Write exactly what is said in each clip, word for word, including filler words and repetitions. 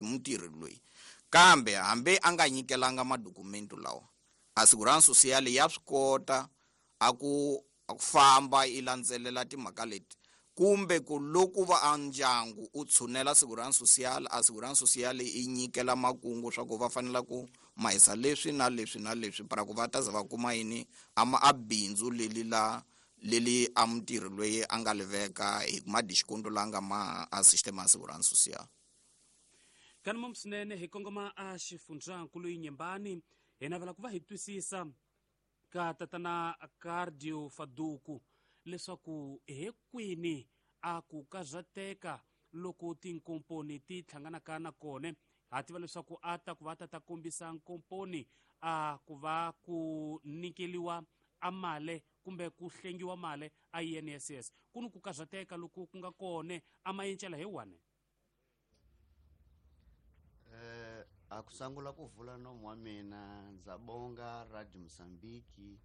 Mutirhi loyi kambe hambi a nga nyikelanga madokumenti lawa, a Segurança Social ya swi kota a ku a ku famba yi landzelela timhaka leti, kumbe ku loko va a ndyangu u tshunela Segurança Social, a Segurança Social yi nyikela makungu swa ku va fanela ku mahisa leswi na leswi na leswi para ku va ta za va kuma yini a ma a bindzu leli la leli a mutirhi loyi a nga li veka hi madisconto la nga ma a sistema ya Segurança Social. Kanimom swinene hi kongoma a xifundzankulu Nyembani, hi navela ku va hi twisisa ka tatana Cardio Faduku leswaku he kwini a ku karhateka loko tinkomponi ti hlanganaka na kona. Ha tiva leswaku a ta ku va ta ta kombisa nkomponi a ku va ku nyikeliwa a male kumbe ku hlengiwa male a I N S S, ku ni ku karhateka loko ku nga kona a mayencela hi wani. Eh, a ku sungula ku vula nomu wa mina, ndza bonga Radio Mozambique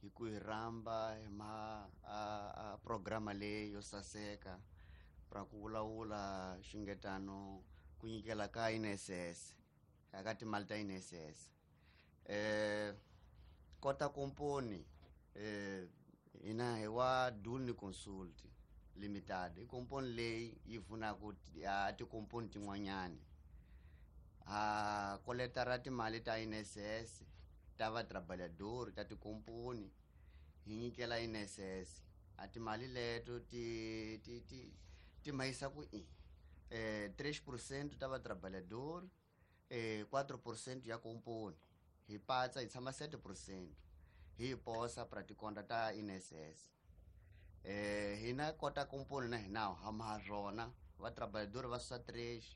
hi ku hi rhamba hi ma a, a programa leyi yo saseka ra ku vulavula xingetano ku nyikela ka I N S S ka timali ta I N S S. Eh, kota komponi eh hina hi wa Duni Consult Limited, i komponi leyi yi pfunaka a tikomponi tin'wanyani. Ha koleta ra timali ta I N S S ta va trabalhador ta tikomponi hi nyikela I N S S. A timali leto ti ti ti ti mahisa ku i eh tres por cento ta va trabalhador, eh quatro por cento ya komponi, hi patsa hi tshama sete por cento hi posa pra tikonta ta I N S S. Eh hina kota komponi na hina ha ma rona va trabalhador va susa tres,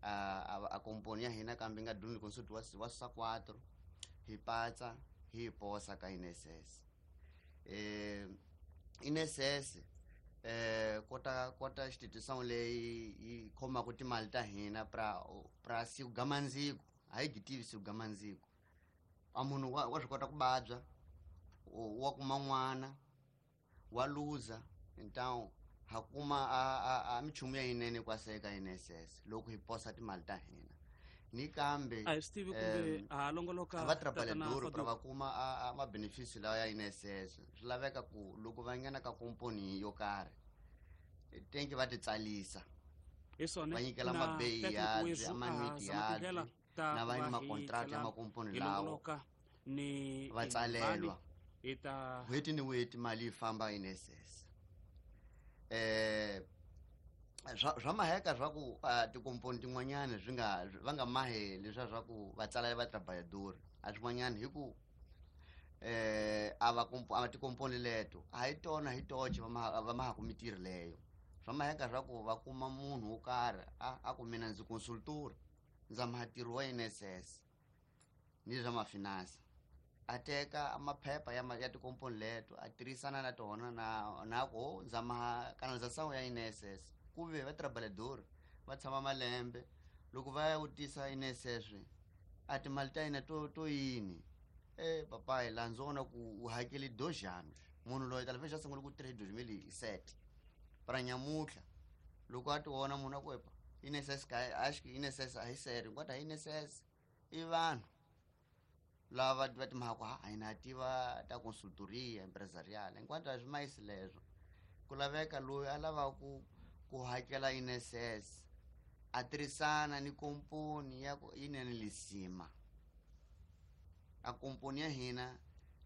a, a, a komponi ya hina kambe nga Duni Consult wa, wa susa quatro, hi patsa hi posa ka I N S S. Eh I N S S eh kota kota institution leyi yi khomaka timali ta hina pra pra siku gamandziko, a yi gitivi siku gamandziko. A munhu wa, wa swi kota ku vabya, wa kuma n'wana, wa luza, então ha kuma a, a, a minchumu ya yinene kwaseka I N S S loko hi posa timali ta hina. Ni kambe, a hi swi tivi kumbe em, ha longoloka va tatana trabalhador pra Faduku. va kuma a, a ma-benefício lawa ya I N S S. Swi laveka ku loko va nghena ka komponi yo karhi tenki va ti tsalisa, Hi swona, va nyikela na mabeyi Patrick ya Wezu, byi, amanwiti a zama ya tindlela byi, ta na ku va va ni hi makontrakt ya tlhela makomponi hi lawo longoloka ni va tsalelwa. Hi ta N'hweti ni n'hweti mali yi famba I N S S. Eh, swa, swa maheka swa ku, ah, tikomponi tin'wanyani swi nga, va nga mahi leswiya swa ku va tsala va trabalhador, a swin'wanyani hi ku, eh, a va kompo-, a va tikomponi leto a hi tona hi toxe va maha, va mahaku mintirho leyo. Swa maheka swa ku va kuma munhu wo karhi a, a ku mina ndzi consultor, ndza maha ntirho wa I N S S ni swa mafinansa, a teka maphepha ya ma-, ya tikomponi leto a tirhisana na tona na, na ku ndza maha kanalização ya I N S S. Ku ve va trabalhador va tshama malembe loko va ya vutisa I N S S a timali ta hina to, to yini, eh papai la ndzi vona ku u hakele dois anos. Munhu loyi talvez a sungule ku tirha hi dois mil e sete para nyamutlha loko a ti vona munhu a ku epa I N S S ka acho que I N S S a hi sério, enquanto a I N S S i vanhu lava va timhaka ku ha a hina tiva ta consultoria empresarial, enquanto a swi mayisi leswo. Ku laveka loyi a lavaka ku, ku hakela I N S S a tirhisana ni komponi ya ku yi nene lisima. A komponi ya hina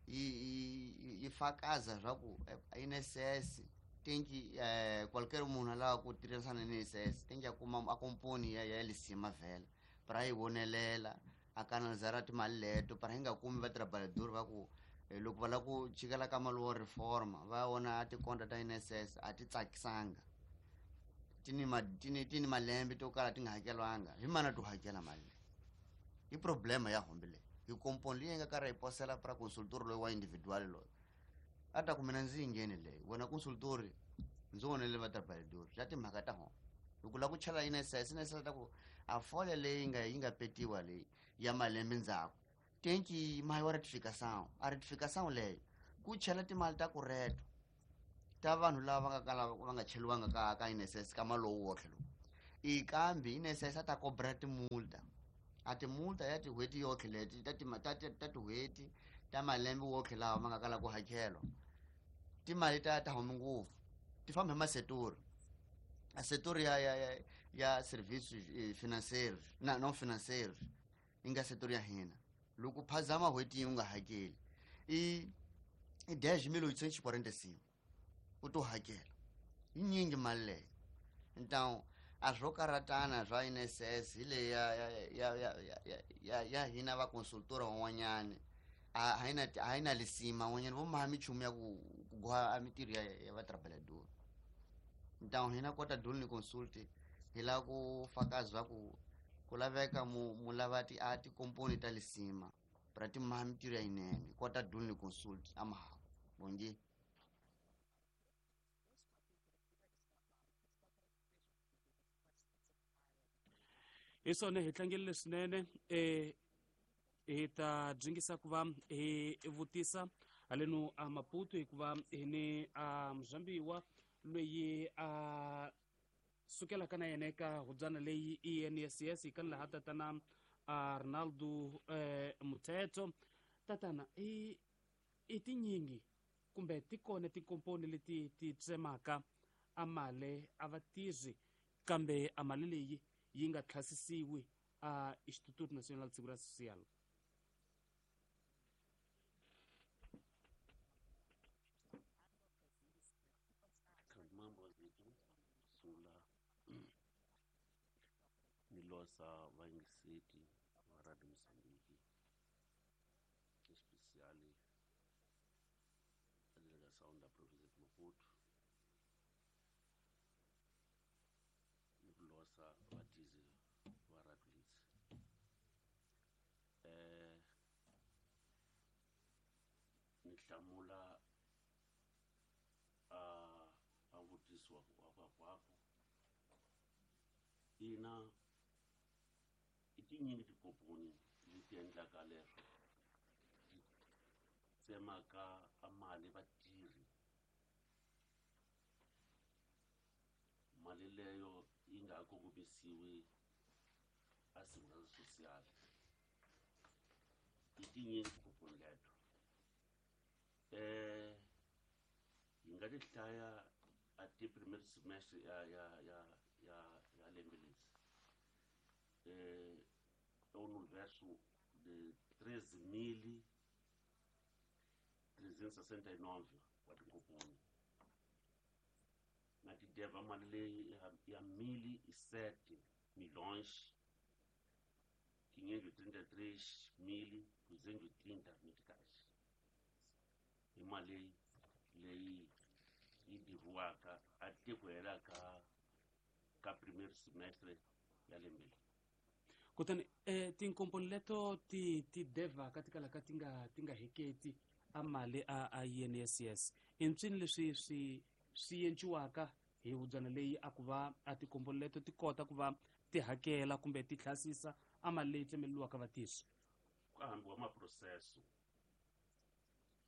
yi, yi, yi fakaza swa ku I N S S tenki, eh, qualquer munhu a lavaka ku tirhisana ni I N S S tenki a kuma a komponi ya, ya lisima vhela para yi vonelela a kanalizara timali leto para hi nga kumi va trabalhador va ku, eh, loko va lava ku chikela ka mali wo reforma va vona tikonta ta I N S S a ti tsakisanga, ti ni ma-, ti ni, ti ni malembe to kala ti nga hakelwanga, hi mana to hakela mali leyi. I problema ya hombe leyi hi komponi leyi nga karhi hi posela pra consultor loyi wa individual loyi a ta ku mina ndzi yi ngheni leyi, wena consultor ndzi vonele va trabalhador swa timhaka ta hona. Loko u lava ku chela I N S S, I N S S ta ku a folha leyi nga, yi nga petiwa leyi ya malembe ndzhaku tenki mahi wa ratificação, a ratificação leyo ku chela timali ta ku reto ta vanhu lava va nga kala va nga cheliwanga ka, ka I N S S ka mali lowu wotlhe lowu. I kambe I N S S a ta cobra timulta. A timulta ya tin'hweti yotlhe leti ta ta ta tin'hweti ta malembe wotlhe lawa ma nga kala ku hakelwa. Timali ta ta humi ngopfu. Ti famba hi masetori. A setori ya ya ya ya serviços financeiros, na não financeiros, yi nga setori ya hina. Loko phazama n'hweti u nga hakeli i i dez mil oitocentos e quarenta e cinco u to hakela. Yi nyingi mali leyo. Então a swo karatana swa I N S S hi leyi ya ya ya ya ya ya hina va consultora van'wanyani a a yi na a yi na lisima van'wanyani vo maha minchumu ya ku ku goha a mintirho ya ya vatrabalhador. Então hina kota doni consult hi lava ku fakaza ku ku laveka mu mu lava ti a tikomponi ta lisima pra ti maha mintirho ya yinene kota doni consult a maha bongi. Hi swona hi tlangerile swinene eh hi ta dyingisa ku va hi vutisa haleno a Maputo hikuva hi ni a muzambiwa loyi a sukelaka na yena eka hubyana leyi I N S S hi kani laha tatana a Ronaldo eh Muthetho. Tatana i i tinyingi kumbe ti kona tikomponi leti ti tsemaka a mali a va tirhi kambe a mali leyi yi nga tlhasisiwi a Instituto Nacional de Segurança Social. Mambo zethu sungula ni losa vayingiseti va Radio Mozambique especially a delegação da província de Maputo ni ku losa vatizi va Radio Litsi. Eh ni hlamula a a vutiso wa wa kwako ina i tinyingi tikomponi leti endlaka leswo ti tsemaka a mali vatirhi mali leyo yi nga kongomisiwi a segurança social. I tinyingi tikomponi leto eh yi nga ti hlaya a ti primeiro semestre ya ya ya ya ya lembe leri eh é um universo de treze mil trezentos e sessenta e nove wa tinkomponi na ti deva mali leyi ya mil e sete milhões quinhentos e trinta e três mil duzentos e trinta meticais. I mali leyi yi diviwaka a te ku hela ka ka primeiro semestre ya lembe leri. Kutani eh tinkomponi leto ti ti devaka ti kalaka ti nga ti nga heketi a mali a a I N S S i ntswini leswi swi swi enciwaka hi hubyana leyi a ku va a tikomponi leto ti kota ku va ti hakela kumbe ti tlhasisa a mali leyi tsemeleriwaka vatirhi. Ku hambiwa maproseso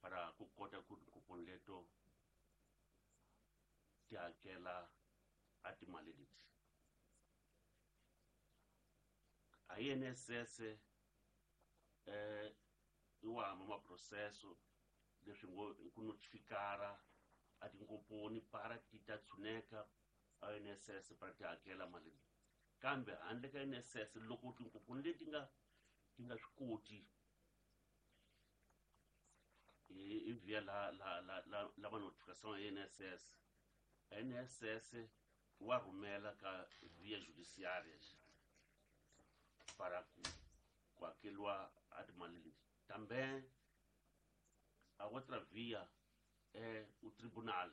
para ku kota ku tinkomponi leto ti hakela a timali leti. A I N S S eh i wa hamba maproseso leswi ngo i ku notifikara a tinkomponi para ti ta tshuneka a I N S S para ti hakela mali leyi. Kambe handle ka I N S S loko tinkomponi leti nga ti nga swi koti hi via la la la la la va notification ya I N S S, I N S S wa rhumela ka via judiciária para ku ku hakeriwa a timali leti. Também a outra via é o tribunal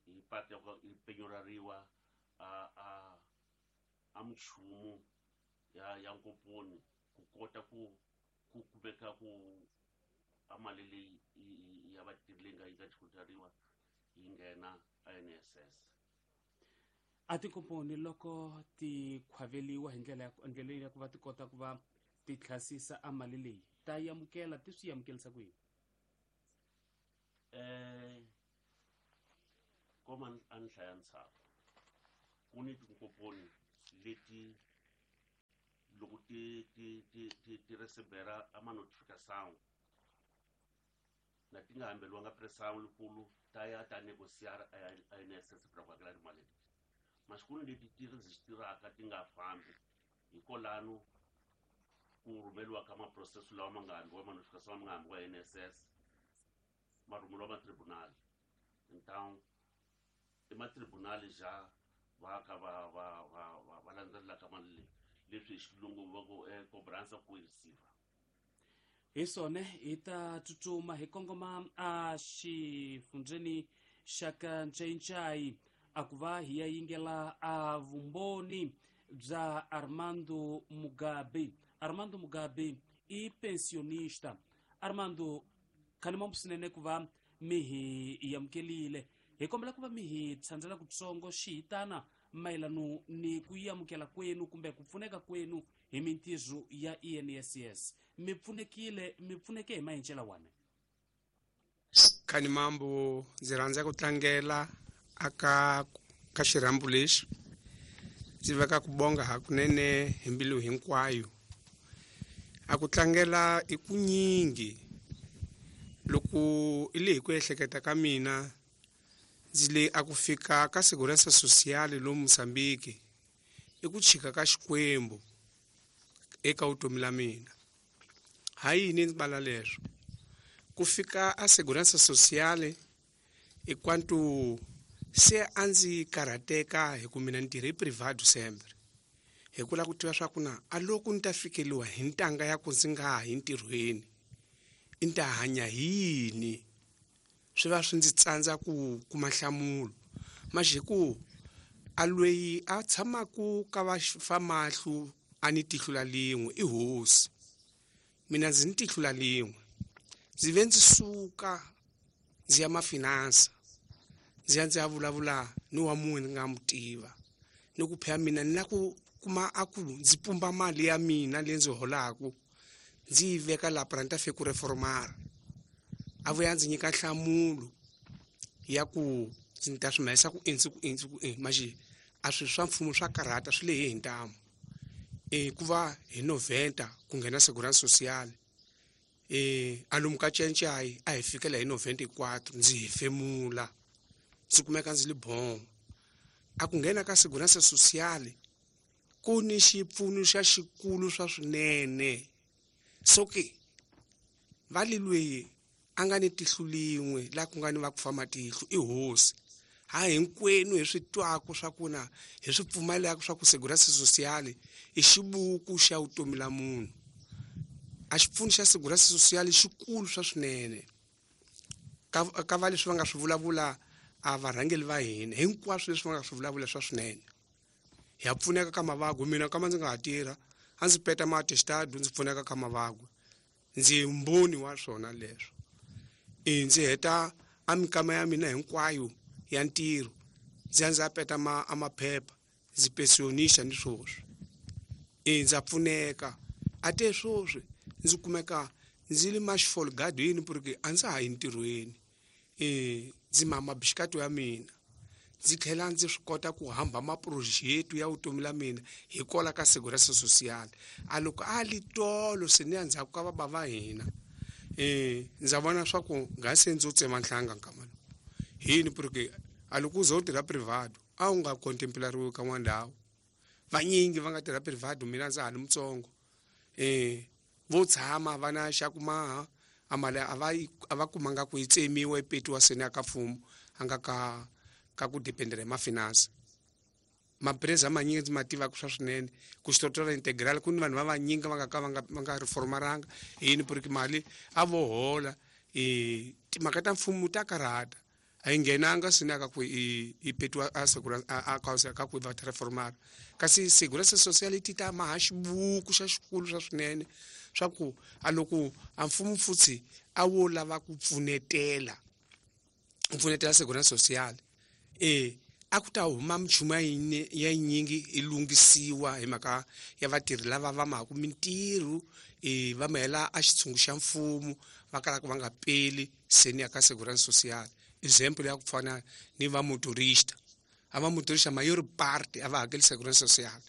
i parte yi penyorariwa a a a minchumu ya ya nkomponi ku kota ku ku kumeka ku a mali leyi ya vatirhi leyi nga yi nga tlhutariwa yi nghena a N S S. A tinkomponi loko ti khwaveliwa hi ndlela ya ndlela ya ku va ti kota ku va ti tlhasisa a mali leyi ta amukela ti swi amukelisa ku yini? Eh koma a ni hlaya ntshaku Ku ni tinkomponi leti loko ti ti ti ti ti recebera a ma-notificação na ti nga hambeliwanga pressão likulu ta ya ta negociar a I N S S pra ku hakela timali leti. Mas ku ni leti ti registraka ti nga fambi hikolano ku rhumeliwa ka maprocesso lawa ma nga hambiwa ma-notificação ma nga hambiwa I N S S ma rhumeliwa ma-tribunal. Então i ma-tribunal já va ka va va va va va landzelelaka mali leyi leswi hi xilungu va ku cobrança coerciva. Hi swona hi ta tsutsuma hi kongoma a xifundzeni xa ka Ncayincai a ku va hi ya yingela a vumbhoni bya Armando Mugabe. Armando Mugabe i pensionista. Armando, khanimambu swinene ku va mi hi amukelile. Hi kombela ku va mi hi tshandzela kutsongo xihitana mayelano ni ku yi amukela kwenu kumbe ku pfuneka kwenu hi mintirho ya I N S S. Mi pfunekile, mi pfuneke hi maendlelo wana. Khanimambu, ndzi rhandza ku tlangela aka ka xirhambo lexi. Ndzi veka ku bonga hakunene hi mbilu hinkwayo. A ku tlangela i ku nyingi loko i le hi ku ehleketa ka mina ndzi le a ku fika ka Segurança Social lomu Mozambique i ku chika ka Xikwembu eka vutomi la mina. Ha yini ndzi bala leswo? Ku fika a Segurança Social i kwantu se a ndzi karhateka hi ku mina ni tirhe privado sempre. Hi ku lava ku tiva swa ku na a loko ni ta fikeliwa hi ntanga ya ku ndzi nga ha yi ntirhweni i ta hanya hi yini? Swi va swi ndzi tsandza ku kuma nhlamulo. Maxi hi ku a loyi a tshamaku ka va famahlu a ni tihlo la lin'we i hosi. Mina ndzi ni tihlo la lin'we. Ndzi ve ndzi suka ndzi ya mafinansa ndzi ya ndzi ya vulavula ni wa munhu ni nga mu tiva ni ku phela mina ni la ku kuma a ku ndzi pumba mali ya mina leyi ndzi holaku ndzi yi veka laha pra ni ta fika ku reformara. A vuya ndzi nyika nhlamulo ya ku ndzi ta swi mahisa ku i ndzi ku i ndzi ku i maxi a swilo swa mfumo swa karhata swi lehe hi ntamu. E ku va hi noventa ku nghena Segurança Social e a lomu ka Ncayincai a hi fikela hi noventa quatro ndzi hefemula ndzi kumeka ndzi li bon. A ku nghena ka Segurança Social ku ni xipfuno xa xikulu swa swinene. So ke va li lweyi a nga ni tihlo lin'we laha ku nga ni va ku fa matihlo i hosi. Ha hinkwenu hi swi twaku swa ku na hi swi pfumelaka swa ku Segurança Social i xibuku xa vutomi la munhu. A xipfuno xa Segurança Social xikulu swa swinene. Ka ka va leswi va nga swi vulavula a varhangeri va hina hinkwaswo leswi va nga swi vulavula swa swinene. Hi ya pfuneka ka mavabyi mina kama ndzi nga ha tirha a ndzi peta ma-attestado ndzi pfuneka ka mavabyi. Ndzi mbhoni wa swona leswo. E ndzi heta a mikama ya mina hinkwayo ya ntirho ndzi ya ndzi ya peta ma a maphepha ndzi pensionista ni swoswi. E ndza pfuneka a te swoswi ndzi kumeka ndzi li maxifolgado yini porque a ndza ha yi ntirhweni. E ndzi mama bixikato ya mina ndzi tlhela ndzi swi kota ku hamba maproject ya vutomi la mina hikwalaho ka Segurança Social. A loko a li tolo se ni ya ndzhaku ka baba va hina e ndza vona swa ku nga se ndzi tsema nhlanga nkama lowu. Hi yini? Porque a loko u ze u tirha privado a wu nga contemplariwi ka n'wana ndhawu. Vanyingi va nga tirha privado mina ndza ha li mutsongo. E vo tshama va na xa ku maha a mali a va yi a va kumanga ku yi tsemiwa yi petiwa seni ya ka mfumo a nga ka ka ku dependera hi mafinansa. Mapreza manyingi ndzi ma tivaka swa swinene ku xitotora integral ku ni vanhu va vanyingi va nga ka va nga va nga reformaranga hi yini? Porque mali a vo hola. E timhaka ta mfumo ta karhata a yi nghenanga seni ya ka ku i i petiwa a Segurança a a ka ku va ta reformara. Kasi Segurança Social ti ta maha xibuku xa xikulu swa swinene swa ku a loko a mfumo futhi a wo lava ku pfunetela ku pfunetela Segurança Social e a ku ta huma minchumu ya yinyingi yi lunghisiwa hi mhaka ya vatirhi lava va mahaku mintirho e va mahela a xitshungu xa mfumo va kalaka va nga peli seni ya ka Segurança Social. Example ya ku fana ni va motorista A va motorista maior parte a va hakeli segurança social.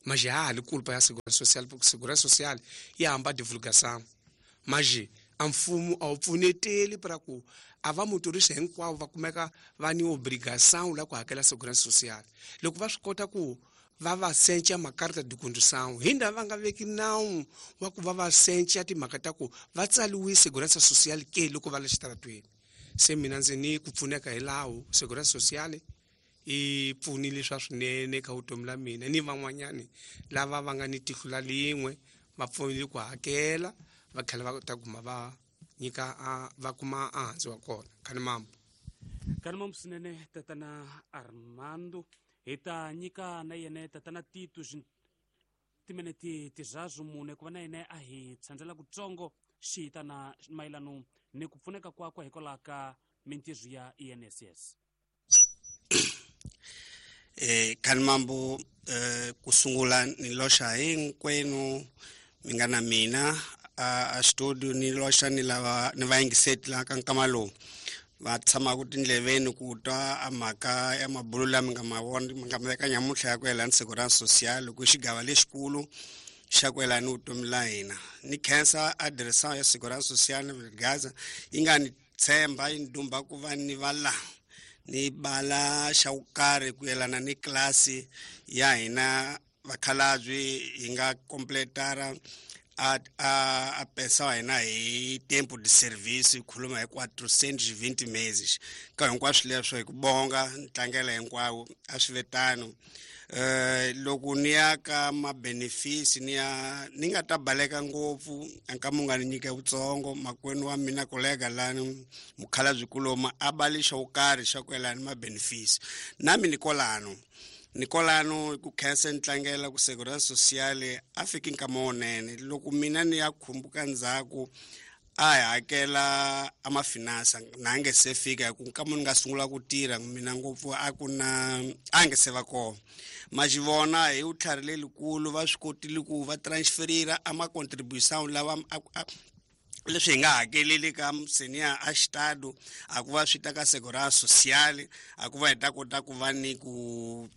Mas já há culpa ya segurança social, porque segurança social ya hamba divulgação. Mas a mfumo a wu pfuneteli para ku a va motorista hinkwavo va kumeka va ni obrigação la ku hakela segurança social. Loko va swi kota ku va va sencha makarta de condução, hinda va nga veki nawu wa ku va va sencha timhaka ta ku va tsaliwe segurança social ke loko va le xitaratweni. Se mina ndzi ni ku pfuneka hi lawo segurança social i pfunile swa swinene ka vutomi la mina ni van'wanyani lava va nga ni tihlo la lin'we va pfunile ku hakela va tlhela va ta kuma va nyika va kuma ehansi wa kona. Khanimambo. Khanimambo swinene tatana Armando. Hi ta nyika na yena tatana Tito timinete tiraru mune ku va na yena a hi tshandzela kutsongo xi na mayelano ni ku pfuneka kwakwe hikwalaho ka mintirho ya I N S S. Eh Khanimambo eh kusungula ni loxa hinkwenu mi nga na mina a a studio ni loxa ni lava ni vayingiseti la ka nkama lowu va tshamaka tindleveni ku twa a mhaka ya mabulo lama nga ma vona mi nga ma veka nyamuntlha ya ku yelana segurança social ku xigava lexikulu xa ku yelana ni vutomi la hina. Ni khensa a direção ya segurança social ni Gaza yi nga ni tshemba yi ni dumba ku va ni va la ni bala xa ku karhi ku yelana ni klasi ya hina vakhalabye hi nga completara a a a pensa wa hina hi tempo de serviço hi khuluma hi quatrocentos e vinte meses ka hinkwaswo leswo hi ku bonga ni tlangela hinkwawo a swi ve tano. Eh loko ni ya ka ma-benefits ni ya ni nga ta baleka ngopfu nkama u nga ni nyika vutsongo makwenu wa mina kolega lani mukhalabye kuloma a bali xo karhi xa ku yelana ni ma-benefits nami ni kolano ni kolano ku khensa ni tlangela ku segurança social a fiki nkama wunene loko mina ni ya khumbuka ndzhaku a hi hakela a mafinansa na nge se fika hi ku nkama ni nga sungula ku tirha mina ngopfu a ku na a nge se va kona ma xi vona hi vutlhari lelikulu va swi kotile ku va transferira a ma-contribution lawa leswi hi nga hakeleli ka senior a xitado a ku va swi ta ka segurança social a ku va hi ta kota ku va ni ku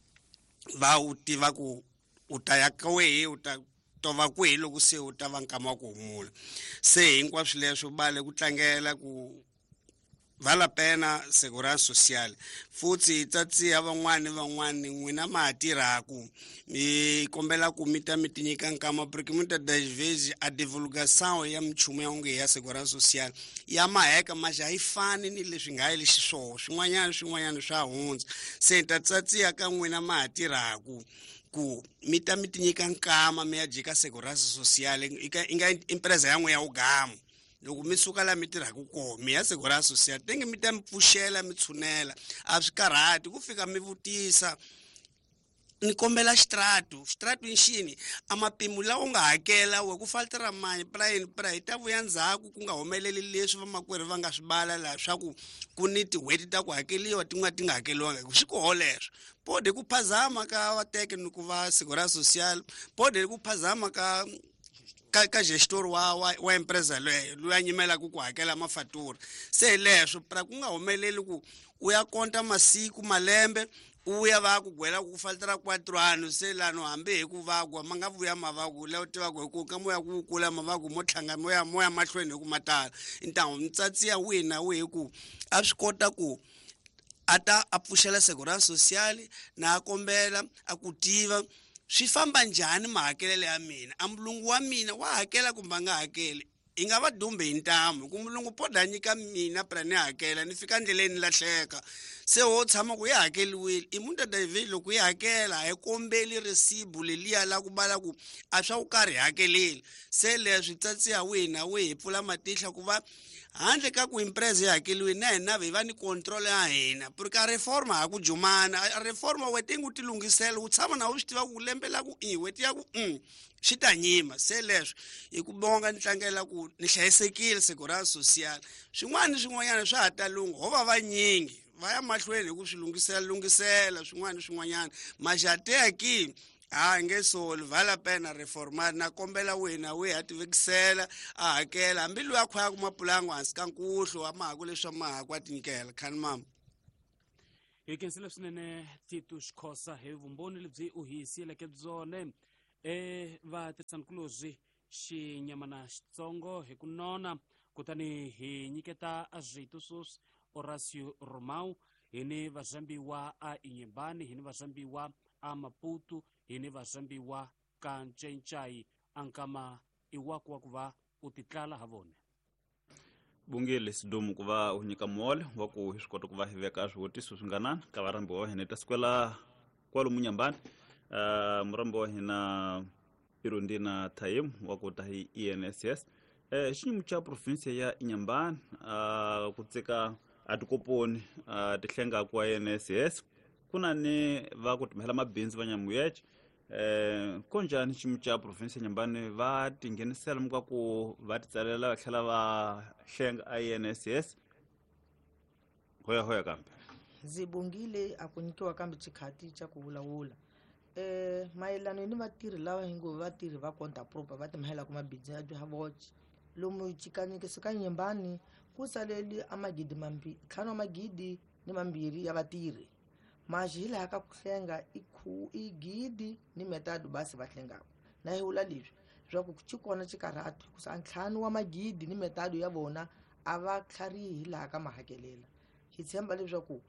va u tiva ku u ta ya ka wehe u ta tova kwihi loko se u ta va nkama wa ku humula. Se hinkwaswo leswo bale ku tlangela ku vala pena segurança social futhi hi tsatsiha van'wani van'wani n'wina ma ha tirhaku mi kombela ku mi ta mi ti nyika nkama porque muitas das vezes a divulgação ya minchumu ya onge ya segurança social ya maheka mas a yi fani ni leswi nga yi xiswona swin'wanyana swin'wanyana swa hundza. Se hi ta tsatsiha ka n'wina ma ha tirhaku ku mi ta mi ti nyika nkama mi ya jika segurança social i nga empresa ya n'we ya ugamu loko mi suka la mi tirhaka kona mi ya segurança social tenge mi ta mi pfuxela mi tshunela a swi karhati ku fika mi vutisa ni kombela xitratu xitratu i xini a mapimo lawa u nga hakela we ku faltera mani pra yini pra hi ta vuya ndzhaku ku nga humeleli leswi vamakwerhu va nga swi bala laha swa ku ku ni tin'hweti ta ku hakeliwa tin'wana ti nga hakeliwanga hi ku swi koho leswo pode ku phazama ka vateke ni ku va segurança social pode ku phazama ka ka ka gestor wa wa, wa empresa leyo loyi a nyimelaka ku hakela mafatura. Se leswo pra ku nga humeleli ku u ya konta masiku malembe u ya va ku gwela ku faltera quatro anos se lano hambi hi ku vagwa ma nga vuya mavaku la u tivaka hi ku ka moya ku kula mavaku mo tlhanga moya moya mahlweni hi ku matala ntamu mitsatsi ya wihi na wihi ku a swi kota ku a ta a pfuxela segurança social na a kombela a ku tiva swi famba njhani mahakelelo ya mina a mulungu wa mina wa hakela kumbe a nga hakeli i nga va dumbe hi ntamu hi ku mulungu poda a nyika mina pra ni hakela ni fika ndleleni ni lahleka se wo tshama ku yi hakeliwile i muitas das vezes loko yi hakela a hi kombeli resibu leliya la ku bala ku a swa ku karhi hakeleli. Se leswi tsatsiha wihi na wihi hi pfula matihlo ku va handle ka ku empresa yi hakeliwile na hina hi va ni control ya hina porque a reforma ha ku jumana a reforma wete ngu ti lunghisela u tshama na u swi tiva ku lembe la ku i weti ya ku mm swi ta nyima. Se leswo hi ku bonga ni tlangela ku ni hlayisekile segurança social swin'wana ni swin'wanyana swa ha ta lungha ho va vanyingi va ya mahlweni hi ku swi lunghisela lunghisela swin'wana ni swin'wanyana maxateya ki a nge soli vala pena reformar na kombela wena we ha tivekisela a hakela hambi loyi a khwayaka mapulangu hansi ka nkuhlu wa mahaku leswi wa mahaku a tinyikela. Khanimambo. Hi khensile swinene Tito Xikhosa hi vumbhoni lebyi u hi siyeleke byone. E vatirhisanikulorhi xinyamana xitsongo hi ku nona, kutani hi nyiketa rito sweswi Horacio Romao, hi ni vazambiwa a Inhambane, hi ni vazambiwa a Maputo, hi ni vazambiwa ka Ncencai. Ankama i waku wa ku va u titlala ha vona. Bungile sidumu ku va u nyika muholo wa ku hi swi kota ku va hi veka swivutiso swi nga nani ka varhambi wa hina. Ta sukela kwalomu Nyambani, uh, murambi wa hina Irundina Thaim wa ku ta hi I N S S. Eh, xiyimo xa province ya Inhambane, uh, ku tseka a tikoponi, uh, tihlenga ku I N S S, ku na ni va ku timhela mabindzu va Nyamuyeche. Eh, konjani xiyimo xa province ya Inhambane va tinghenisela muka ku va titsalela va tlhela va hlenga I N S S? Hoya hoya kambe. Ndzi bongile a ku nyikiwa kambe xikhati xa ku vulavula. Eh, mayelana ni vatirhi lava hi ngo vatirhi va conta proper va timhela ku mabindzu ya bya voce. Lomu xikanyekiso ka Inhambane ku saleli a magidi mambi, ntlhanu wa magidi ni mambirhi ya vatirhi. Maxi hi laha ka ku hlenga i khu i gidi ni metado basi va hlengaka. Na hi vula leswi swa ku xi kona xikarhatu ku sa ntlhanu wa magidi ni metado ya vona a va tlharihi hi laha ka mahakelela. Hi tshemba leswaku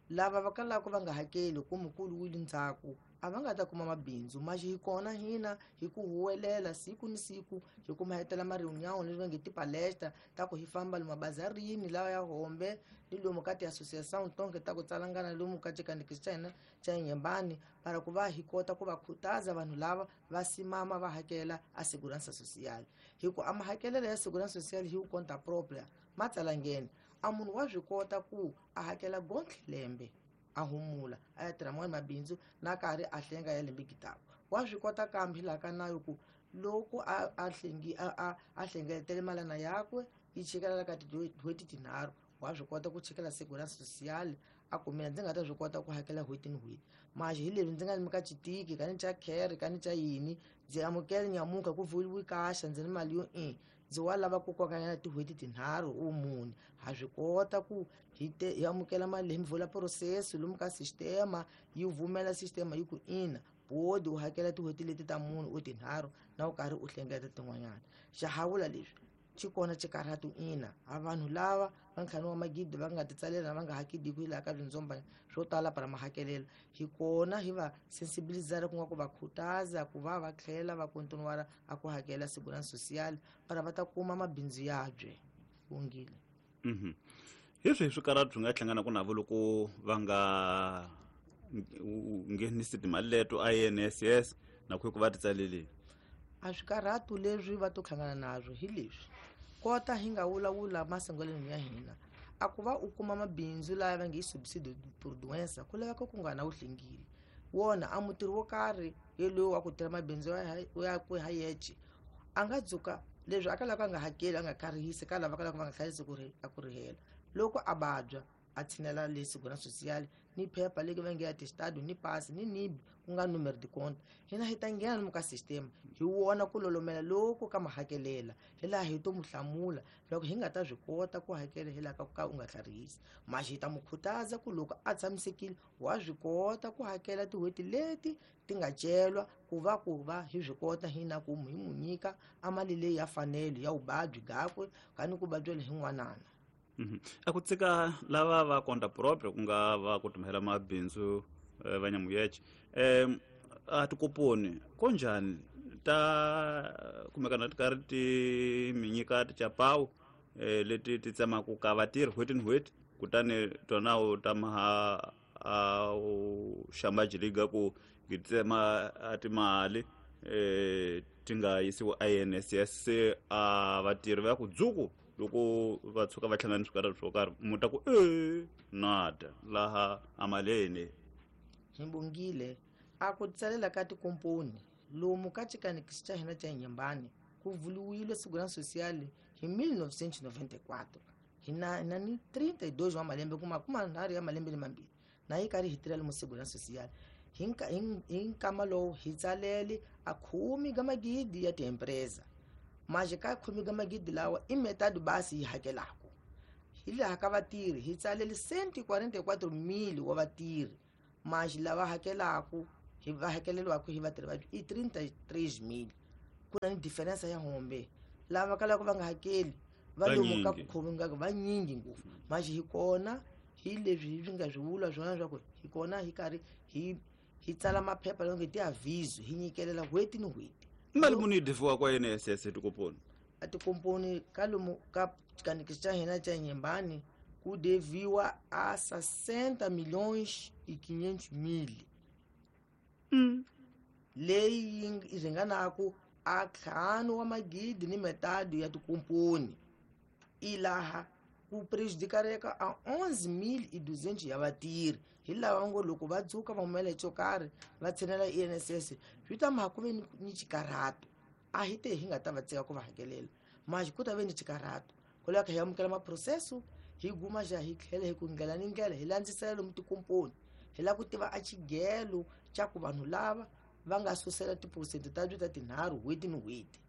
lava va kalaka va nga hakeli ku mukulu wu le ndzhaku a va nga ta kuma mabindzu. Maxi hi kona hina hi ku huwelela siku ni siku hi kuma hetela ma-reunion leswi va nge tipalestra ta ku hi famba lomu mabazarini lawa ya Hombe ni lomu ka ti-association tonke ta ku tsalangana lomu ka xikandziyisi xa hina xa Inhambane, para ku va hi kota ku va khutaza vanhu lava va simama va hakela a segurança social. Hi ku a mahakelelo ya segurança social hi ku conta propria ma tsalangeni, a munhu wa swi kota ku a hakela gontlhe lembe a humula a ya tirha man'wani mabindzu na karhi a hlenga ya lembe gitako. Wa swi kota kambe hi laha ka nayo ku loko a, a hlengi, a, a, a hlengeletele malana yakwe yi chikela ka tin'hweti tinharhu, wa swi kota ku chikela segurança social a ku mina ndzi nga ta swi kota ku hakela n'hweti ni n'hweti. Maxi hi leswi ndzi nga ni ka xitiki ka ni xa care ka ni xa yini, ndzi amukele nyamuka ku vuliwi kaxa ndzi ni mali yo i ndzi wa lava ku kokanyana tin'hweti tinharhu u mune. Ha swi kota ku hi te hi amukela mali leyi mi vula process lomu ka sistema yi vumela sistema yi ku ina bodi u hakela tin'hweti leti ta mune u tinharhu na u karhi u hlengeleta tin'wanyana. Xa ha vula leswi xi kona xikarhatu ina a vanhu lava va ntlhanu wa magidi va nga titsalela va nga hakediku hi laha ka swindzomba swo tala para mahakelelo. Hi kona hi va sensibilizara ku nga ku va khutaza ku va va tlhela va kontinuara a ku hakela segurança social para va ta kuma mabindzu yabye. Bongile. Mhm. Hi swihi swikarhatu swi nga hlanganaka navo loko va nga nghenisi timali leto I N S S na ku va titsaleleni? A swikarhatu leswi va to hlangana nazwo hi leswi kota hi nga vulavula masungulweni ya hina a ku va u kuma mabindzu laya va nge subsidio por doença ku laveka ku nga na wu hlengile wona a mutirhi wo karhi yelweyo wa ku tirha mabindzu ya ku ha yexe a nga dzuka leswi a kalaka a nga hakeli a nga karihisi ka lava kalaka va nga hlayisi ku ri a ku rihela loko a vabya a tshinela le segurança social ni phepha leri va nge ya testado ni pasi ni nibi ku nga numero de conta hina hi ta nghena lomu ka system hi wona ku lolomela loko ka mahakelela hi laha hi to mu hlamula loko hi nga ta swi kota ku hakela hi laha ka ku ka u nga tlharihisi. Maxi hi ta mu khutaza ku loko a tshamisekile wa swi kota ku hakela tin'hweti leti ti nga celwa ku va ku va hi swi kota hina ku hi mu nyika a mali leyi ya fanelo ya vuvabyi byakwe kani ku vabyela hi n'wanana. A ku tsika lava va conta propria ku nga va ku timhela mabindzu va Nyamuyeche, um a tikoponi konjhani ta kumekana ti karhi ti mi nyika tichapawu eh, leti ti tsemaka ka vatirhi n'hweti ni n'hweti, kutani tona u ta maha a u xambajiliga ku ti tsema a timali eh, ti nga yisiwi I N S S se a vatirhi va ya ku dzuku loko va tshuka va hlangana swikarhi swo karhi mu ta ku e nada laha a mali. Hi bongile a ku tsalela ka tikomponi lomu ka xikanekisi xa hina xa Inhambane ku vuliwile segurança social hi mil novecentos e noventa e quatro hi na na ni trinta e dois wa malembe kuma kuma nharhu ya malembe ni mambirhi na yi karhi hi tirhela mu segurança social hi hi nkama lowu hi tsalele a khume ka magidi ya tiempresa. Mas ka khume ka magidi lawa i metade basi yi hakelaka. Hi laha ka vatirhi hi tsalele cento e quarenta e quatro mil wa vatirhi, mas lava hakelaku hi va hakeleriwaka hi vatirhi va i trinta e três mil. Ku na ni diferença ya hombe lava kalaka va nga hakeli va lomu ka ku khomi nga vanyingi ngopfu. Mas hi kona hi leswi hi nga swi vula swona swa ku hi kona hi karhi hi hi tsala maphepha lawa nge ti-aviso hi nyikelela n'hweti ni n'hweti. Mali muni yi deviwaka I N S S etikomponi? A tikomponi ka lomu ka xikanikisi xa hina xa Nyembani ku deviwa a sessenta milhões e quinhentos mil, mm. leyi yi ringanaku a ntlhanu wa magidi ni metadi ya tikomponi. Ilaha ku prejudicareka a onze mil e duzentos ya vatirhi hi lava ngo loko va dzuka va humela hi xo karhi va tshinela I N S S swi ta maha ku ve ni ni xikarhato. A hi te hi nga ta va tshika ku va hakelela, mas ku ta ve ni xikarhato ku lava hi amukela maprocesso hi guma xa hi tlhela hi ku ndlela ni ndlela hi landzisela lomu tikomponi hi lava ku tiva a xigelo xa ku vanhu lava va nga susela tiphesente ta byo ta tinharhu n'hweti ni n'hweti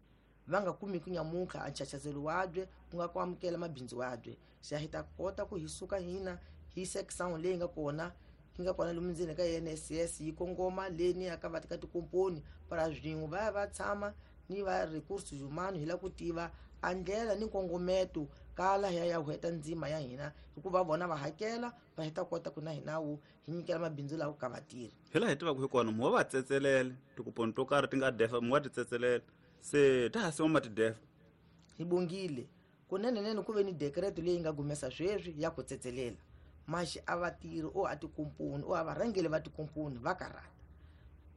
va nga kumi ku nyamutlha a nchachazelo wabye ku nga ku amukela mabindzu wabye. Xa hi ta kota ku hi suka hina hi section leyi nga kona yi nga kona lomu ndzeni ka I N S S yi kongoma leni ya ka va ka tikomponi para swin'we va ya va tshama ni va recursos humanos hi lava ku tiva a ndlela ni nkongometo kala hi ya ya hweta ndzima ya hina hikuva vona va hakela va hi ta kota ku na hina wu hi nyikela mabindzu lawa ka vatirhi. Hi laha hi tivaka hi kona mu wa va tsetselele tikuponi to karhi ti nga defa, mu wa ti tsetselela se ta ha siwa ma ti defa. Hi bongile kunenenene ku ve ni dekreto leyi nga gumesa sweswi ya ku tsetselela, maxi a vatirhi o a tikomponi o a varhangeli va tikomponi va karhata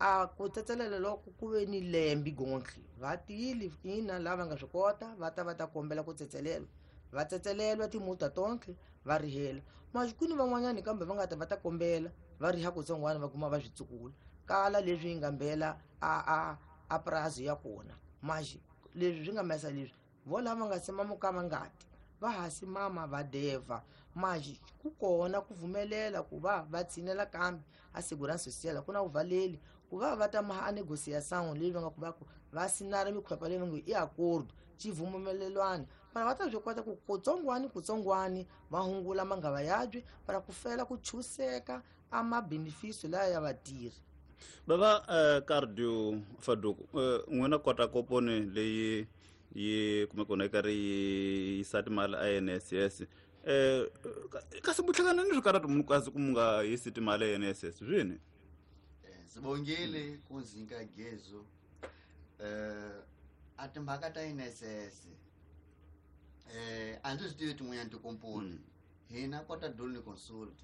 a ku tsetselela loko ku ve ni lembi gontlhe va tiyile ina lava nga swi kota va ta va ta kombela ku tsetselelwa, va tsetselelwa timuta tonke va rihela. Maxi ku ni van'wanyani kambe va nga ta va ta kombela va riha kutsongwana va kuma va swi tsukula kala leswi yi nga mbela a a a prazo ya kona. Maxi leswi swi nga mesa leswi vo lava nga simama ka vangati va ha simama va deva, maxi ku kona ku pfumelela ku va va tshinela kambe a segurança social ku na vuvaleli ku va va ta maha a negociação leyi va nga ku va ku va sinara mikhwepa leyi va nge i acordo xivumelelwano para va ta swi kota ku kutsongwani kutsongwani va hungula mangava yabye para ku fela ku chuseka a mabenefício laya ya vatirhi. Bava uh, Cardio Faduku, uh, n'wina kota koponi leyi yi kumeka kona yi karhi yi yisa timali a I N S S, eh kasi mu hlangana ni swikarhato munhu kasi ku mu nga yisi timali a I N S S swini? Sibongile kunzinka gezo eh a timhaka ta I N S S eh a ndzi swi tivi tin'wanyana tikomponi. Hina kota Dolny Consult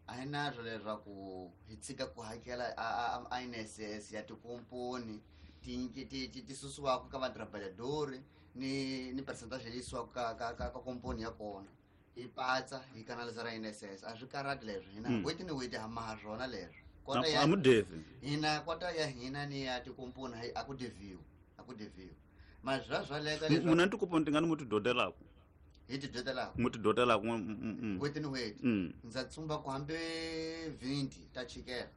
a hi na swo leswaku hi tshika ku hakela a a I N S S ya tikomponi ti ti ti ti susiwaka ka vatrabalhador ni ni percentage leyi yisiwaka ka ka ka ka komponi ya kona hi patsa hi kanalizara I N S S. A swi karhati leswo hina Mm. n'hweti ni n'hweti ha maha swona leswo kota ya A mu devi? Hina kota ya hina ni ya tikomponi hayi a ku deviwi, a ku deviwi mara swa swaleka leswaku Muna tikoponi tingani mu ti dodelaku? Hi ti dodelaka? Mu ti dodelaku mm, mm, mm. N'hweti ni n'hweti. Mm. Ndza tsumba ku hambi vinte ta chikela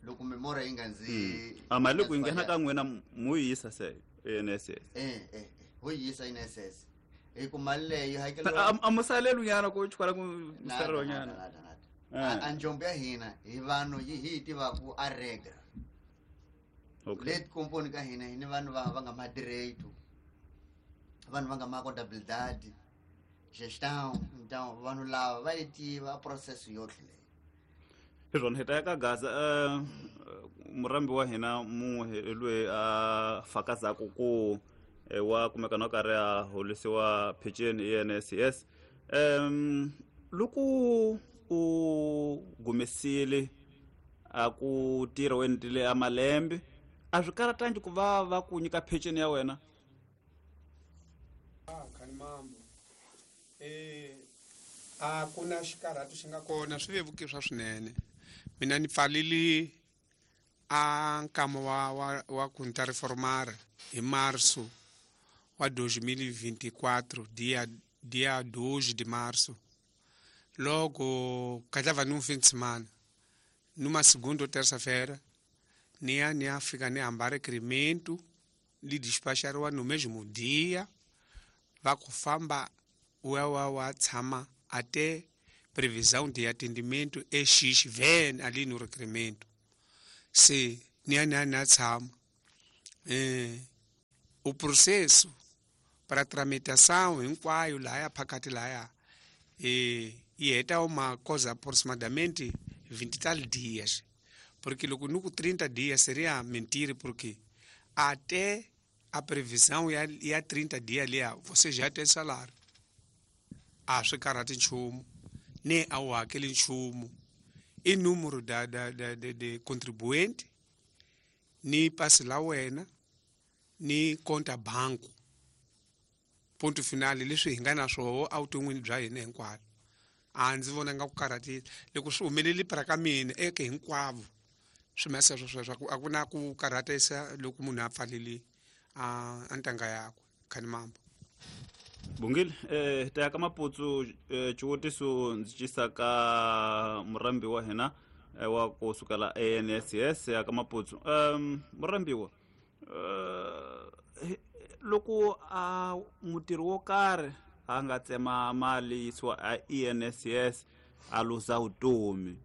loko memora yi nga ndzi A mali loko yi nghena ka n'wina mu yi yisa se I N S S? eh eh eh, ho yi yisa I N S S hi ku mali leyi hakeriwa. A- a mu saleli nyana ku chukala ku Nada, saleriwa nada, nyana? Nada, nada. Eh. A a njombo ya hina hi vanhu yi hi yi tivaku a regra. Okay. Le tikomponi ka hina hi ni vanhu va va nga ma direito, vanhu va nga ma contabilidade, gestão, então vanhu lava va yi tiva process yotlhe leyi. Hi swona hi ta ya ka Gaza, um murambi wa hina mun'we hi loyi a fakazaku ku eh, wa kumeka na karhi a holisiwa peceni I N S S. um loko u gumesile a ku tirha u endlile a malembe a swi karatangi ku va va ku nyika peceni ya wena? Ah, khani mambo eh a ku na xikarhato xi nga kona swi vevuke swa swinene. Mina ni pfalile a nkama wa wa wa ku ni ta reformar hi março wa dois mil e vinte e quatro, dia dia dois de março, logo calhava num fim de semana, numa segunda ou terça-feira ni ya ni ya fika ni hamba requerimento li despachariwa no mesmo dia va ku famba. u ya wa wa tshama até previsão de atendimento é X vem ali no requerimento. Se ni ya ni ya ni ya tshama eh, o processo para tramitação hinkwayo laya phakathi laya eh, yi heta uma coisa aproximadamente vinte e tal dias, porque loko ni ku trinta dias seria mentira, porque até a previsão ya, ya trinta dias liya você já tem salário. A swi karhati nchumu ni a wu hakeli nchumu, i número da, da, da, de, de contribuinte ni pasi la wena ni conta banco, ponto final. Leswi hi nga na swoho evuton'wini bya hina hinkwabyo a ndzi vona nga ku karhatile loko swi humeleli para ka mina eke hinkwavo swi masa swo sweswo a ku na ku karhatisa loko munhu a pfalele a a ntanga yakwe. Khani mambo Bungile eh ta ka Maputsu eh, xivutiso ndzi cisa ka murambi wa hina eh, wa kusuka la I N S S ya ka Maputsu. Um murambiwa eh loko a mutirhi wo karhi a nga tsema mali yisiwa a I N S S a luza vutomi